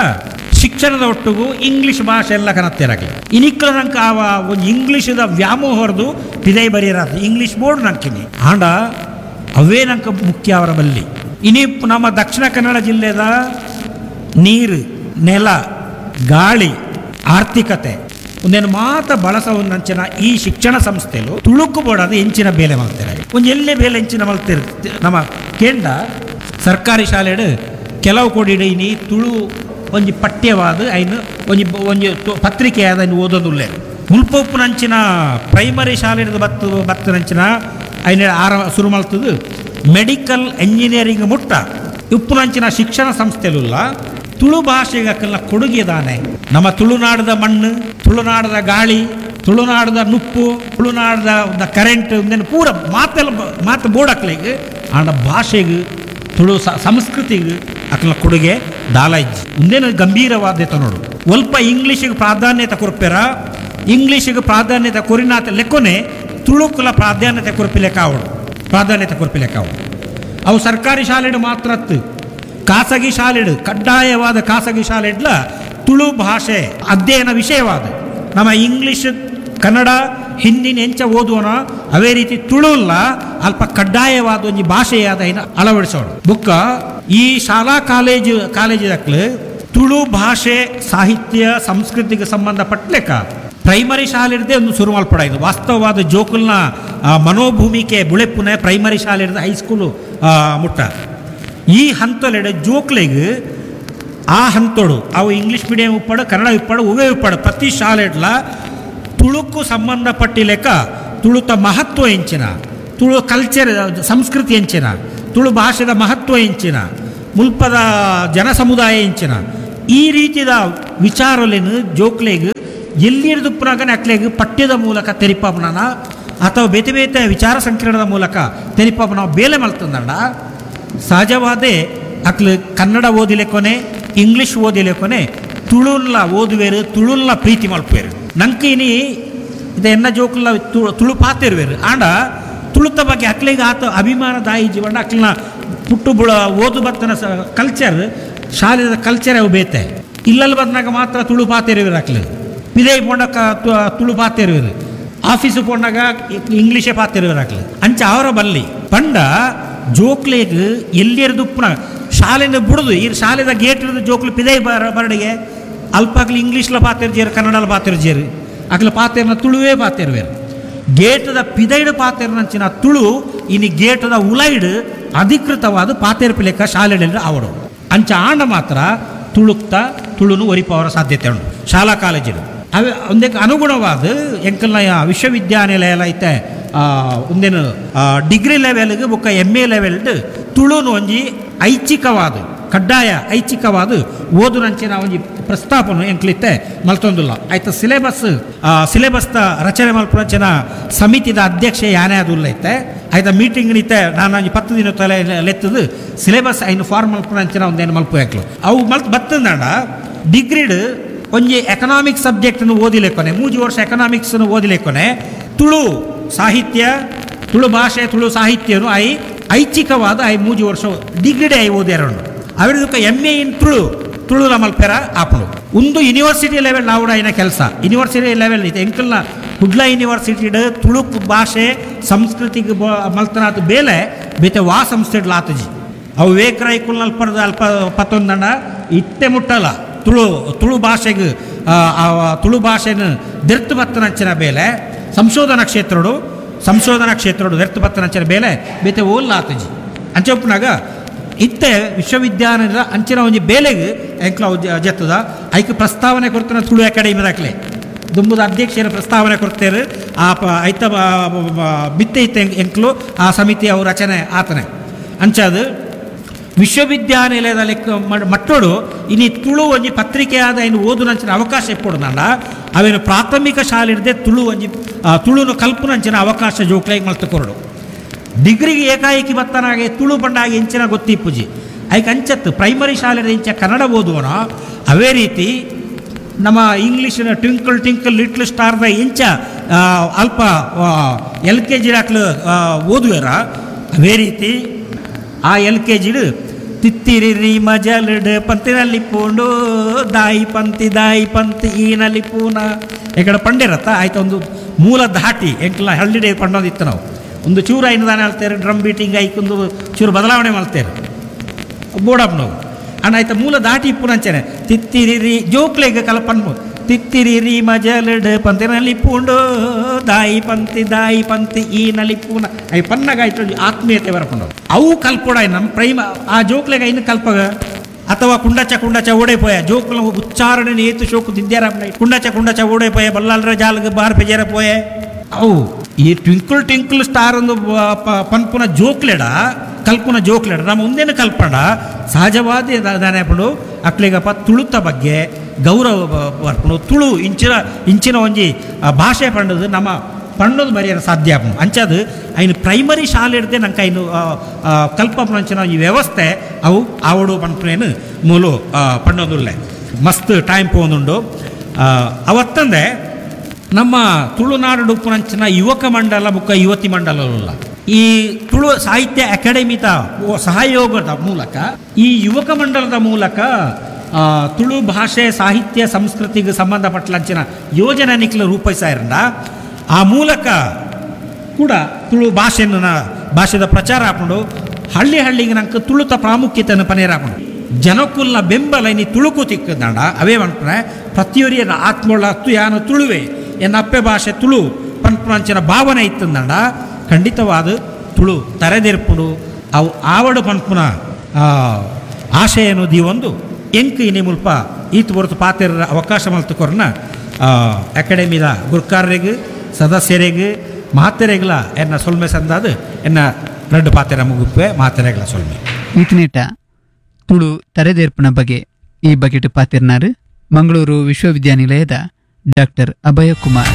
ಶಿಕ್ಷಣದ ಒಟ್ಟುಗು ಇಂಗ್ಲಿಷ್ ಭಾಷೆ ಎಲ್ಲ ಕನತ್ತೇರಾಗಲಿ. ಇನಿಕ್ಕಲ ನಂಗೆ ಆವ ಒಂದು ಇಂಗ್ಲೀಷದ ವ್ಯಾಮೋಹರದು ಪಿದೈ ಬರೀರಾದ ಇಂಗ್ಲೀಷ್ ಬೋರ್ಡ್ ನಂಕಿನಿ ಆಂಡ ಅವೇ ನಂಗೆ ಮುಖ್ಯ ಅವರ ಬಲ್ಲಿ. ಇನಿ ನಮ್ಮ ದಕ್ಷಿಣ ಕನ್ನಡ ಜಿಲ್ಲೆದ ನೀರು, ನೆಲ, ಗಾಳಿ, ಆರ್ಥಿಕತೆ ಒಂದೇನು ಮಾತ ಬಳಸ ಒಂದಂಚಿನ ಈ ಶಿಕ್ಷಣ ಸಂಸ್ಥೆಲು ತುಳುಕು ಬೋಡಾದ ಹೆಂಚಿನ ಬೇಲೆ ಮಲ್ತಾರೆ. ಒಂದು ಎಲ್ಲೇ ಬೇಲೆ ಹೆಂಚಿನ ಮಲ್ತಿರ್ ನಮ್ಮ ಕೇಂದ್ರ ಸರ್ಕಾರಿ ಶಾಲೆಡು ಕೆಲವು ಕೋಡಿಡು ಇನಿ ತುಳು ಒಂಜಿ ಪಠ್ಯವಾದ ಐನು ಒಂಜಿ ಒಂಜಿ ಪತ್ರಿಕೆಯಾದ ಐನು ಓದೋದುಲ್ಲೆ. ಮುಲ್ಪೊಪ್ಪುನಂಚಿನ ಪ್ರೈಮರಿ ಶಾಲೆದ ಬತ್ತು ಬತ್ತನಂಚಿನ ಐನ ಆರ ಶುರು ಮಲ್ತದು ಮೆಡಿಕಲ್ ಎಂಜಿನಿಯರಿಂಗ್ ಮುಟ್ಟ ಉಪ್ಪುನಂಚಿನ ಶಿಕ್ಷಣ ಸಂಸ್ಥೆಲುಲ್ಲ ತುಳು ಭಾಷೆಗೆ ಅಕ್ಕಲ್ಲ ಕೊಡುಗೆ ದಾನೆ. ನಮ್ಮ ತುಳುನಾಡದ ಮಣ್ಣು, ತುಳುನಾಡದ ಗಾಳಿ, ತುಳುನಾಡದ ನುಪ್ಪು, ತುಳುನಾಡದ ಕರೆಂಟ್ ಒಂದೇನು ಪೂರ ಮಾತೆಲ್ಲ ಮಾತು ಬೋರ್ಡ್ ಆಂಡ ಭಾಷೆಗೆ ತುಳು ಸಂಸ್ಕೃತಿಗೆ ಅಕ್ಕಲ ಕೊಡುಗೆ ದಾಲ ಇಜ್ಜಿ. ಒಂದೇನು ಗಂಭೀರವಾದ್ಯತೆ ನೋಡು. ಒಲ್ಪ ಇಂಗ್ಲೀಷಿಗೆ ಪ್ರಾಧಾನ್ಯತೆ ಕೊರ್ಪೆರ, ಇಂಗ್ಲೀಷಿಗೆ ಪ್ರಾಧಾನ್ಯತೆ ಕೊರಿನಾತ ಲೆಕ್ಕೊನೆ ತುಳುಕುಲ ಪ್ರಾಧಾನ್ಯತೆ ಕೊರ್ಪಿ ಲೆಕ್ಕ ಅವಡು, ಪ್ರಾಧಾನ್ಯತೆ ಕೊರ್ಪಿ ಲೆಕ್ಕ ಅವಡು. ಅವು ಸರ್ಕಾರಿ ಶಾಲೆಡು ಮಾತ್ರ ಖಾಸಗಿ ಶಾಲೆಡು ಕಡ್ಡಾಯವಾದ ಖಾಸಗಿ ಶಾಲೆಡ್ಲ ತುಳು ಭಾಷೆ ಅಧ್ಯಯನ ವಿಷಯವಾದ ನಮ್ಮ ಇಂಗ್ಲೀಷ್, ಕನ್ನಡ, ಹಿಂದಿನ ಎಂಚ ಓದುವನ ಅವೇ ರೀತಿ ತುಳುಲ್ಲ ಅಲ್ಪ ಕಡ್ಡಾಯವಾದ ಒಂಜಿ ಭಾಷೆಯಾದ ಅಳವಡಿಸೋಣ. ಬುಕ್ಕ ಈ ಶಾಲಾ ಕಾಲೇಜು ಕಾಲೇಜಿದಕ್ಲು ತುಳು ಭಾಷೆ ಸಾಹಿತ್ಯ ಸಂಸ್ಕೃತಿಗೆ ಸಂಬಂಧಪಟ್ಟಲೆಕ್ಕ ಪ್ರೈಮರಿ ಶಾಲೆ ಒಂದು ಶುರು ಮಲ್ಪಡ. ಇದು ವಾಸ್ತವವಾದ ಜೋಕುಲ್ನ ಮನೋಭೂಮಿಕೆ ಬುಳೆಪುನೆ ಪ್ರೈಮರಿ ಶಾಲೆ ಹೈಸ್ಕೂಲು ಮುಟ್ಟ ಈ ಹಂತಲೆಡೆ ಜೋಕ್ಲೆಗ್ ಆ ಹಂತೋಡು ಅವು ಇಂಗ್ಲೀಷ್ ಮೀಡಿಯಂ ಉಪ್ಪಾಡು, ಕನ್ನಡ ಉಪ್ಪಾಡು, ಉವೇ ಉಪ್ಪಾಡು ಪ್ರತಿ ಶಾಲೆಡ್ಲ ತುಳುಕು ಸಂಬಂಧಪಟ್ಟಿಲೆಕ್ಕ ತುಳುತ ಮಹತ್ವ ಎಂಚಿನ, ತುಳು ಕಲ್ಚರ್ ಸಂಸ್ಕೃತಿ ಎಂಚಿನ, ತುಳು ಭಾಷೆದ ಮಹತ್ವ ಎಂಚಿನ, ಮುಲ್ಪದ ಜನ ಸಮುದಾಯ ಎಂಚಿನ ಈ ರೀತಿಯ ವಿಚಾರಲೇನು ಜೋಕ್ಲೆಗ್ ಎಲ್ಲಿರ್ದುಪ್ಪನಾಗನೆ ಅಕ್ಲೆಗ್ ಪಠ್ಯದ ಮೂಲಕ ತೆರಿಪಾಪನ ಅಥವಾ ಬೇತೆ ಬೇತೆ ವಿಚಾರ ಸಂಕಿರಣದ ಮೂಲಕ ತೆರಿಪಾಪನ ಬೇಲೆ ಮಲ್ತಂದಂಡ ಸಹಜವಾದೇ ಅಕ್ಲು ಕನ್ನಡ ಓದಿಲೆಕೊನೆ, ಇಂಗ್ಲೀಷ್ ಓದಿಲೆಕೊನೆ ತುಳುನ್ಲ ಓದುವೇರು, ತುಳುನ್ಲ ಪ್ರೀತಿ ಮಲ್ಪುವೇರು. ನಂಗೆ ಇನಿ ಇದು ಎನ್ನ ಜೋಕುಲ್ಲ ತುಳು ಪಾತಿರುವೇರು ಆಂಡ ತುಳುತ ಬಗ್ಗೆ ಅಕ್ಲಿಗೆ ಆತ ಅಭಿಮಾನ ದಾಯಿ ಜೀವನ ಅಕ್ಲಿನ ಪುಟ್ಟು ಬುಳ ಓದು ಬತ್ತನ ಕಲ್ಚರ್ ಶಾಲೆದ ಕಲ್ಚರ್ ಅವು ಬೇತೆ. ಇಲ್ಲಲ್ಲಿ ಬಂದಾಗ ಮಾತ್ರ ತುಳು ಪಾತಿರುವೇರು ಅಕ್ಲು, ಪಿದೈ ಪೋಂಡಕ ತುಳು ಪಾತಿರುವೇರು, ಆಫೀಸು ಪೋಂಡಾಗ ಇಂಗ್ಲೀಷೇ ಪಾತಿರುವೇರು ಅಕ್ಲು. ಅಂಚ ಅವರ ಬಲ್ಲಿ ಪಂಡ ಜೋಕ್ಲೆಗ್ ಎಲ್ಲಿರ್ದುಪ್ಪನ ಶಾಲೆನ ಬಿಡುದು ಈ ಶಾಲೆದ ಗೇಟ್ ಹಿಡಿದು ಜೋಕ್ಲು ಪಿದೈ ಬರಡಿಗೆ ಅಲ್ಪಾಗ್ಲಿ ಇಂಗ್ಲೀಷ್ಲ ಪಾತಿರ್ಜೇರು, ಕನ್ನಡಲ ಪಾತಿರ್ಜೇರು, ಅಕ್ಲ ಪಾತಿರ್ನ ತುಳುವೇ ಪಾತಿರ್ವೇರು. ಗೇಟದ ಪಿದೈಡು ಪಾತಿರ್ನಂಚಿನ ತುಳು ಇನಿ ಗೇಟದ ಉಲೈಡು ಅಧಿಕೃತವಾದ ಪಾತಿರ್ಪಿಲೆಕ್ಕ ಶಾಲೆಡೆಲ್ಲ ಅವಡು. ಅಂಚ ಆಂಡ ಮಾತ್ರ ತುಳುಕ್ತ ತುಳುನು ಒರಿಪವರ ಸಾಧ್ಯತೆ ಉಂಟು ಶಾಲಾ ಕಾಲೇಜಿಡು. ಅವೇ ಒಂದಕ್ಕೆ ಅನುಗುಣವಾದ ಎಂಕಲ್ನ ವಿಶ್ವವಿದ್ಯಾನಿಲಯ ಎಲ್ಲ ಐತೆ ಒಂದೇನು ಡಿಗ್ರಿ ಲೆವೆಲ್ಗೆ ಬೊಕ್ಕ ಎಮ್ ಎ ಲೆವೆಲ್ಡ್ ತುಳುನು ಒಂಜಿ ಐಚ್ಛಿಕವಾದ ಕಡ್ಡಾಯ ಐಚ್ಛಿಕವಾದ ಓದುನಂಚಿನ ಒಂಜಿ ಪ್ರಸ್ತಾಪನು ಎಂಕ್ಲಿತ್ತೆ ಮಲ್ತೊಂದುಲ್ಲ. ಆಯ್ತು ಸಿಲೆಬಸ್ ಸಿಲೆಬಸ್ದ ರಚನೆ ಮಲ್ಪುನಂಚಿನ ಸಮಿತಿದ ಅಧ್ಯಕ್ಷೆ ಯಾನೇ ಅದು ಐತೆ. ಆಯ್ತಾ ಮೀಟಿಂಗ್ ನಿತ್ತೆ ನಾನು ಒಂಜಿ 10 ದಿನ ತಲೆ ಲೆತ್ತದು ಸಿಲೆಬಸ್ ಐನು ಫಾರ್ಮ್ ಮಲ್ಪುನಂಚಿನ ಒಂದೇನು ಮಲ್ಪು ಯಾಕ್ಲು ಅವು ಮಲ್ತ್ ಬತ್ತಂದಾಂಡ ಡಿಗ್ರಿಡ್ ಒಂಜಿ ಎಕನಾಮಿಕ್ಸ್ ಸಬ್ಜೆಕ್ಟ್ನು ಓದಿಲೆಕ್ಕೊನೆ 3 ವರ್ಷ ಎಕನಾಮಿಕ್ಸ್ನು ಓದಿಲೆಕ್ಕೊನೆ ತುಳು ಸಾಹಿತ್ಯ, ತುಳು ಭಾಷೆ, ತುಳು ಸಾಹಿತ್ಯನು ಐಚ್ಛಿಕವಾದ 3 ವರ್ಷ ಡಿಗ್ರಿಡೆ I ಓದ್ಯಾರ. ಅವಿರ್ದಕ್ಕ ಎಮ್ ಎ ಇನ್ ತುಳು ತುಳುಲ ಮಲ್ಪೆರ ಆಪುಂಡು. ಒಂದು ಯೂನಿವರ್ಸಿಟಿ ಲೆವೆಲ್ ಆವಡ ಐನ ಕೆಲಸ ಯೂನಿವರ್ಸಿಟಿ ಲೆವೆಲ್ ಇತ್ತೆ ಎಂಕಲ್ನ ಕುಡ್ಲ ಯೂನಿವರ್ಸಿಟಿಡ್ ತುಳು ಭಾಷೆ ಸಂಸ್ಕೃತಿಗೆ ಮಲ್ತನಾತ್ ಬೇಲೆ ಬೇತೆ ವಾ ಸಂಸ್ಥೆಡ್ಲ ಆತಜಿ. ಅವು ವಿವೇಕ ರೈಕುಲ್ ಅಲ್ಪ ಅಲ್ಪ ಪತ್ತೊಂದಣ್ಣ ಇತ್ತೆ ಮುಟ್ಟಲ್ಲ ತುಳು ತುಳು ಭಾಷೆಗೆ ತುಳು ಭಾಷೆನ ದೆರ್ತು ಬತ್ತನಂಚಿನ ಬೇಲೆ ಸಂಶೋಧನಾ ಕ್ಷೇತ್ರಡು ದೆರ್ತು ಬತ್ತನಂಚಿನ ಬೇಲೆ ಬೇತೆ ಓಲ್ಲ ಆತಜಿ. ಅಂಚೆ ಉಪ್ಪುನಾಗ ಇತ್ತೆ ವಿಶ್ವವಿದ್ಯಾಲಯದ ಅಂಚಿನ ಒಂಜಿ ಬೇಲೆಗೆ ಎಂಕ್ಲ ಜತ್ತದ ಐಕ್ ಪ್ರಸ್ತಾವನೆ ಕೊಡ್ತಾನೆ ತುಳು ಅಕಾಡೆಮಿ ದಾಖಲೆ ದುಂಬುದ ಅಧ್ಯಕ್ಷರ ಪ್ರಸ್ತಾವನೆ ಕೊಡ್ತೇರು. ಆ ಐತ ಬಿತ್ತೆ ಇತ್ತೆ ಎಂಕ್ಲು ಆ ಸಮಿತಿ ಅವು ರಚನೆ ಆತನೆ. ಅಂಚಾದು ವಿಶ್ವವಿದ್ಯಾನಿಲಯದ ಲೆಕ್ಕ ಮಟ್ಟೋಡು ಇನಿ ತುಳು ಒಂಜಿ ಪತ್ರಿಕೆ ಆದ ಇನ್ನು ಓದುನಂಚಿನ ಅವಕಾಶ ಇಪ್ಪೊಡು. ಅವೇನು ಪ್ರಾಥಮಿಕ ಶಾಲೆ ಇಡದೆ ತುಳು ಒಂಜಿ ತುಳುನು ಕಲ್ಪುನಂಚಿನ ಅವಕಾಶ ಜೋಕ್ಲಾಗಿ ಮಲ್ತು ಕೊರಡು. ಡಿಗ್ರಿಗೆ ಏಕಾಏಕಿ ಬತ್ತನಾಗೆ ತುಳು ಬಂಡಾಗಿ ಇಂಚಿನ ಗೊತ್ತಿಪ್ಪುಜಿ ಐಕ್ ಅಂಚತ್ತು ಪ್ರೈಮರಿ ಶಾಲೆ ಇಂಚ ಕನ್ನಡ ಓದುವನ ಅವೇ ರೀತಿ ನಮ್ಮ ಇಂಗ್ಲೀಷಿನ ಟ್ವಿಂಕಲ್ ಟಿಂಕಲ್ ಲಿಟ್ಲ್ ಸ್ಟಾರ್ದ ಇಂಚ ಅಲ್ಪ ಎಲ್ ಕೆ ಜಿ ದಾಕ್ಲು ಓದುವೆರ ಅವೇ ರೀತಿ ಆ ಎಲ್ ಕೆ ಜಿಡು ತಿತ್ತಿರಿ ಮಜಲಡು ಪಂತಿನಲ್ಲಿ ಪೂಂಡು ದಾಯಿ ಪಂತಿ ದಾಯಿ ಪಂತಿ ಈನಲ್ಲಿ ಪೂನ ಎಕಡೆ ಪಂಡಿರತ್ತ ಆಯ್ತು ಒಂದು ಮೂಲ ಧಾಟಿ ಎಂಕ್ಲ ಹಳ್ಳಿಡೆ ಪಂಡೋದಿತ್ತು ನಾವು ಒಂದು ಚೂರು ಐನು ದಾನೆ ಹೇಳ್ತಾರೆ ಡ್ರಮ್ ಬೀಟಿಂಗ್ ಐಕೊಂದು ಚೂರು ಬದಲಾವಣೆ ಮಾಡ್ತಾರೆ ಬೋಡಪ್ನವು ಅಣ್ಣ ಆಯ್ತು ಮೂಲ ದಾಟಿ ಇಪ್ಪುನಂಚನೆ ತಿತ್ತಿರಿ ಜೋಕ್ಲೆಗ್ ಕಲ್ಪನ್ಮು ತಿತ್ತಿರಿ ಮಜಲಡು ಪಂತಿನಲ್ಲಿ ಪೂಂಡು ದಾಯಿ ಪಂತಿ ದಾಯಿ ಪಂತಿ ಈ ನಲ್ಲಿ ಪೂನ I ಪನ್ನಗ ಆಯ್ತು ಆತ್ಮೀಯತೆ ಬರಪುಂಡು ಅವು ಕಲ್ಪೊಡ ನಮ್ಮ ಪ್ರೈಮ ಆ ಜೋಕ್ಲೆಗ ಇನ್ನು ಕಲ್ಪಗ ಅಥವಾ ಕುಂಡಚ ಕುಂಡಚ ಓಡೆ ಪೋಯ ಜೋಕ್ಲ ಉಚ್ಚಾರಣೆ ಏತು ಶೋಕು ದಿದ್ಯಾರ ಕುಂಡಚ ಕುಂಡಚ ಓಡೆ ಪೋಯ ಬಲ್ಲಾಲ್ರ ಜಾಲ್ಗ ಬಾರ್ ಪೆಜೇರ ಪೋಯೆ ಅವು ಈ ಟ್ವಿಂಕಲ್ ಟಿಂಕಲ್ ಸ್ಟಾರ್ ಒಂದು ಪನ್ಪುನ ಜೋಕ್ಲೆಡ ಕಲ್ಪುನ ಜೋಕ್ಲೆಡ ನಮ್ಮ ಮುಂದೇನು ಕಲ್ಪಣ ಸಹಜವಾದ ದಾನೆಪುಂಡು ಅಕ್ಲಿಗಪ್ಪ ತುಳುತ ಬಗ್ಗೆ ಗೌರವ ಬರ್ಪುಂಡು. ತುಳು ಇಂಚಿನ ಇಂಚಿನ ಒಂಜಿ ಭಾಷೆ ಪಂಡದು ನಮ್ಮ ಪಂಡೋದು ಬರೆಯರ ಸಾಧ್ಯ ಆಪುಂಡು. ಅಂಚಾದು ಐನು ಪ್ರೈಮರಿ ಶಾಲೆ ಇಡ್ದೆ ನಂಗೆ ಐನು ಕಲ್ಪಪುನಂಚಿನ ಈ ವ್ಯವಸ್ಥೆ ಅವು ಆವಡು ಪನ್ಪುನೇನು ಮೂಲು ಪಂಡೋದುಲ್ಲೆ ಮಸ್ತ್ ಟೈಮ್ ಪೋಂದುಂಡು. ಅವತ್ತಂದೆ ನಮ್ಮ ತುಳುನಾಡು ಉಪ್ಪುನಂಚಿನ ಯುವಕ ಮಂಡಲ ಬುಕ್ಕ ಯುವತಿ ಮಂಡಲಲ್ಲ ಈ ತುಳು ಸಾಹಿತ್ಯ ಅಕಾಡೆಮಿತ ಸಹಯೋಗದ ಮೂಲಕ ಈ ಯುವಕ ಮಂಡಲದ ಮೂಲಕ ತುಳು ಭಾಷೆ ಸಾಹಿತ್ಯ ಸಂಸ್ಕೃತಿಗೆ ಸಂಬಂಧಪಟ್ಟಂಚಿನ ಯೋಜನೆ ನಿಕ್ಲು ರೂಪಿಸಾರಂಡ ಆ ಮೂಲಕ ಕೂಡ ತುಳು ಭಾಷೆಯನ್ನು ಭಾಷೆದ ಪ್ರಚಾರ ಹಾಕೊಂಡು ಹಳ್ಳಿ ಹಳ್ಳಿಗೆ ನಂಗೆ ತುಳುತ ಪ್ರಾಮುಖ್ಯತೆಯನ್ನು ಪನೇರ ಹಾಕೊಂಡು ಜನಕುಲ್ನ ಬೆಂಬಲ ಇನಿ ತುಳುಕು ತಿಕ್ಕದಂಡ ಅವೇ ಅನ್ಪುಣೆ ಪ್ರತಿಯೊರಿಯನ ಆತ್ಮೊಳ್ಳ ಅತ್ತು ಯಾನು ತುಳುವೆ ಎನ್ನ ಅಪ್ಪೆ ಭಾಷೆ ತುಳು ಪನ್ಪುನಂಚಿನ ಭಾವನೆ ಇತ್ತಂದಂಡ ಖಂಡಿತವಾದ ತುಳು ತರೆದೆರ್ಪುಡು ಅವು ಆವಡು ಪನ್ಪುನ ಆಶಯನು ದೀವೊಂದು ಎಂಕ್ ಇನಿ ಮುಲ್ಪ ಈತ್ ಹೊರತು ಪಾತೆರ ಅವಕಾಶ ಮಲ್ತುಕೊರ್ನ ಅಕಾಡೆಮಿದ ಗುರ್ಕಾರ್ರೆಗ್ ಸದಸ್ಯರಿಗೆ ಮಾತೆರೆಗ್ಲ ಎನ್ನ ಸೊಲ್ಮೆ ಸಂದಾದು ಎನ್ನ ರಡ್ಡು ಪಾತೆರ ಮುಗುಪ್ಪೆ ಮಾತೆರೆಗ್ಲ ಸೊಲ್ಮೆ. ಈತನೇಟ ತುಳು ತರೆದೇರ್ಪುನ ಬಗ್ಗೆ ಈ ಬಗೆಟ್ ಪಾತಿರ್ನಾರು ಮಂಗಳೂರು ವಿಶ್ವವಿದ್ಯಾನಿಲಯದ ಡಾಕ್ಟರ್ ಅಭಯಕುಮಾರ್.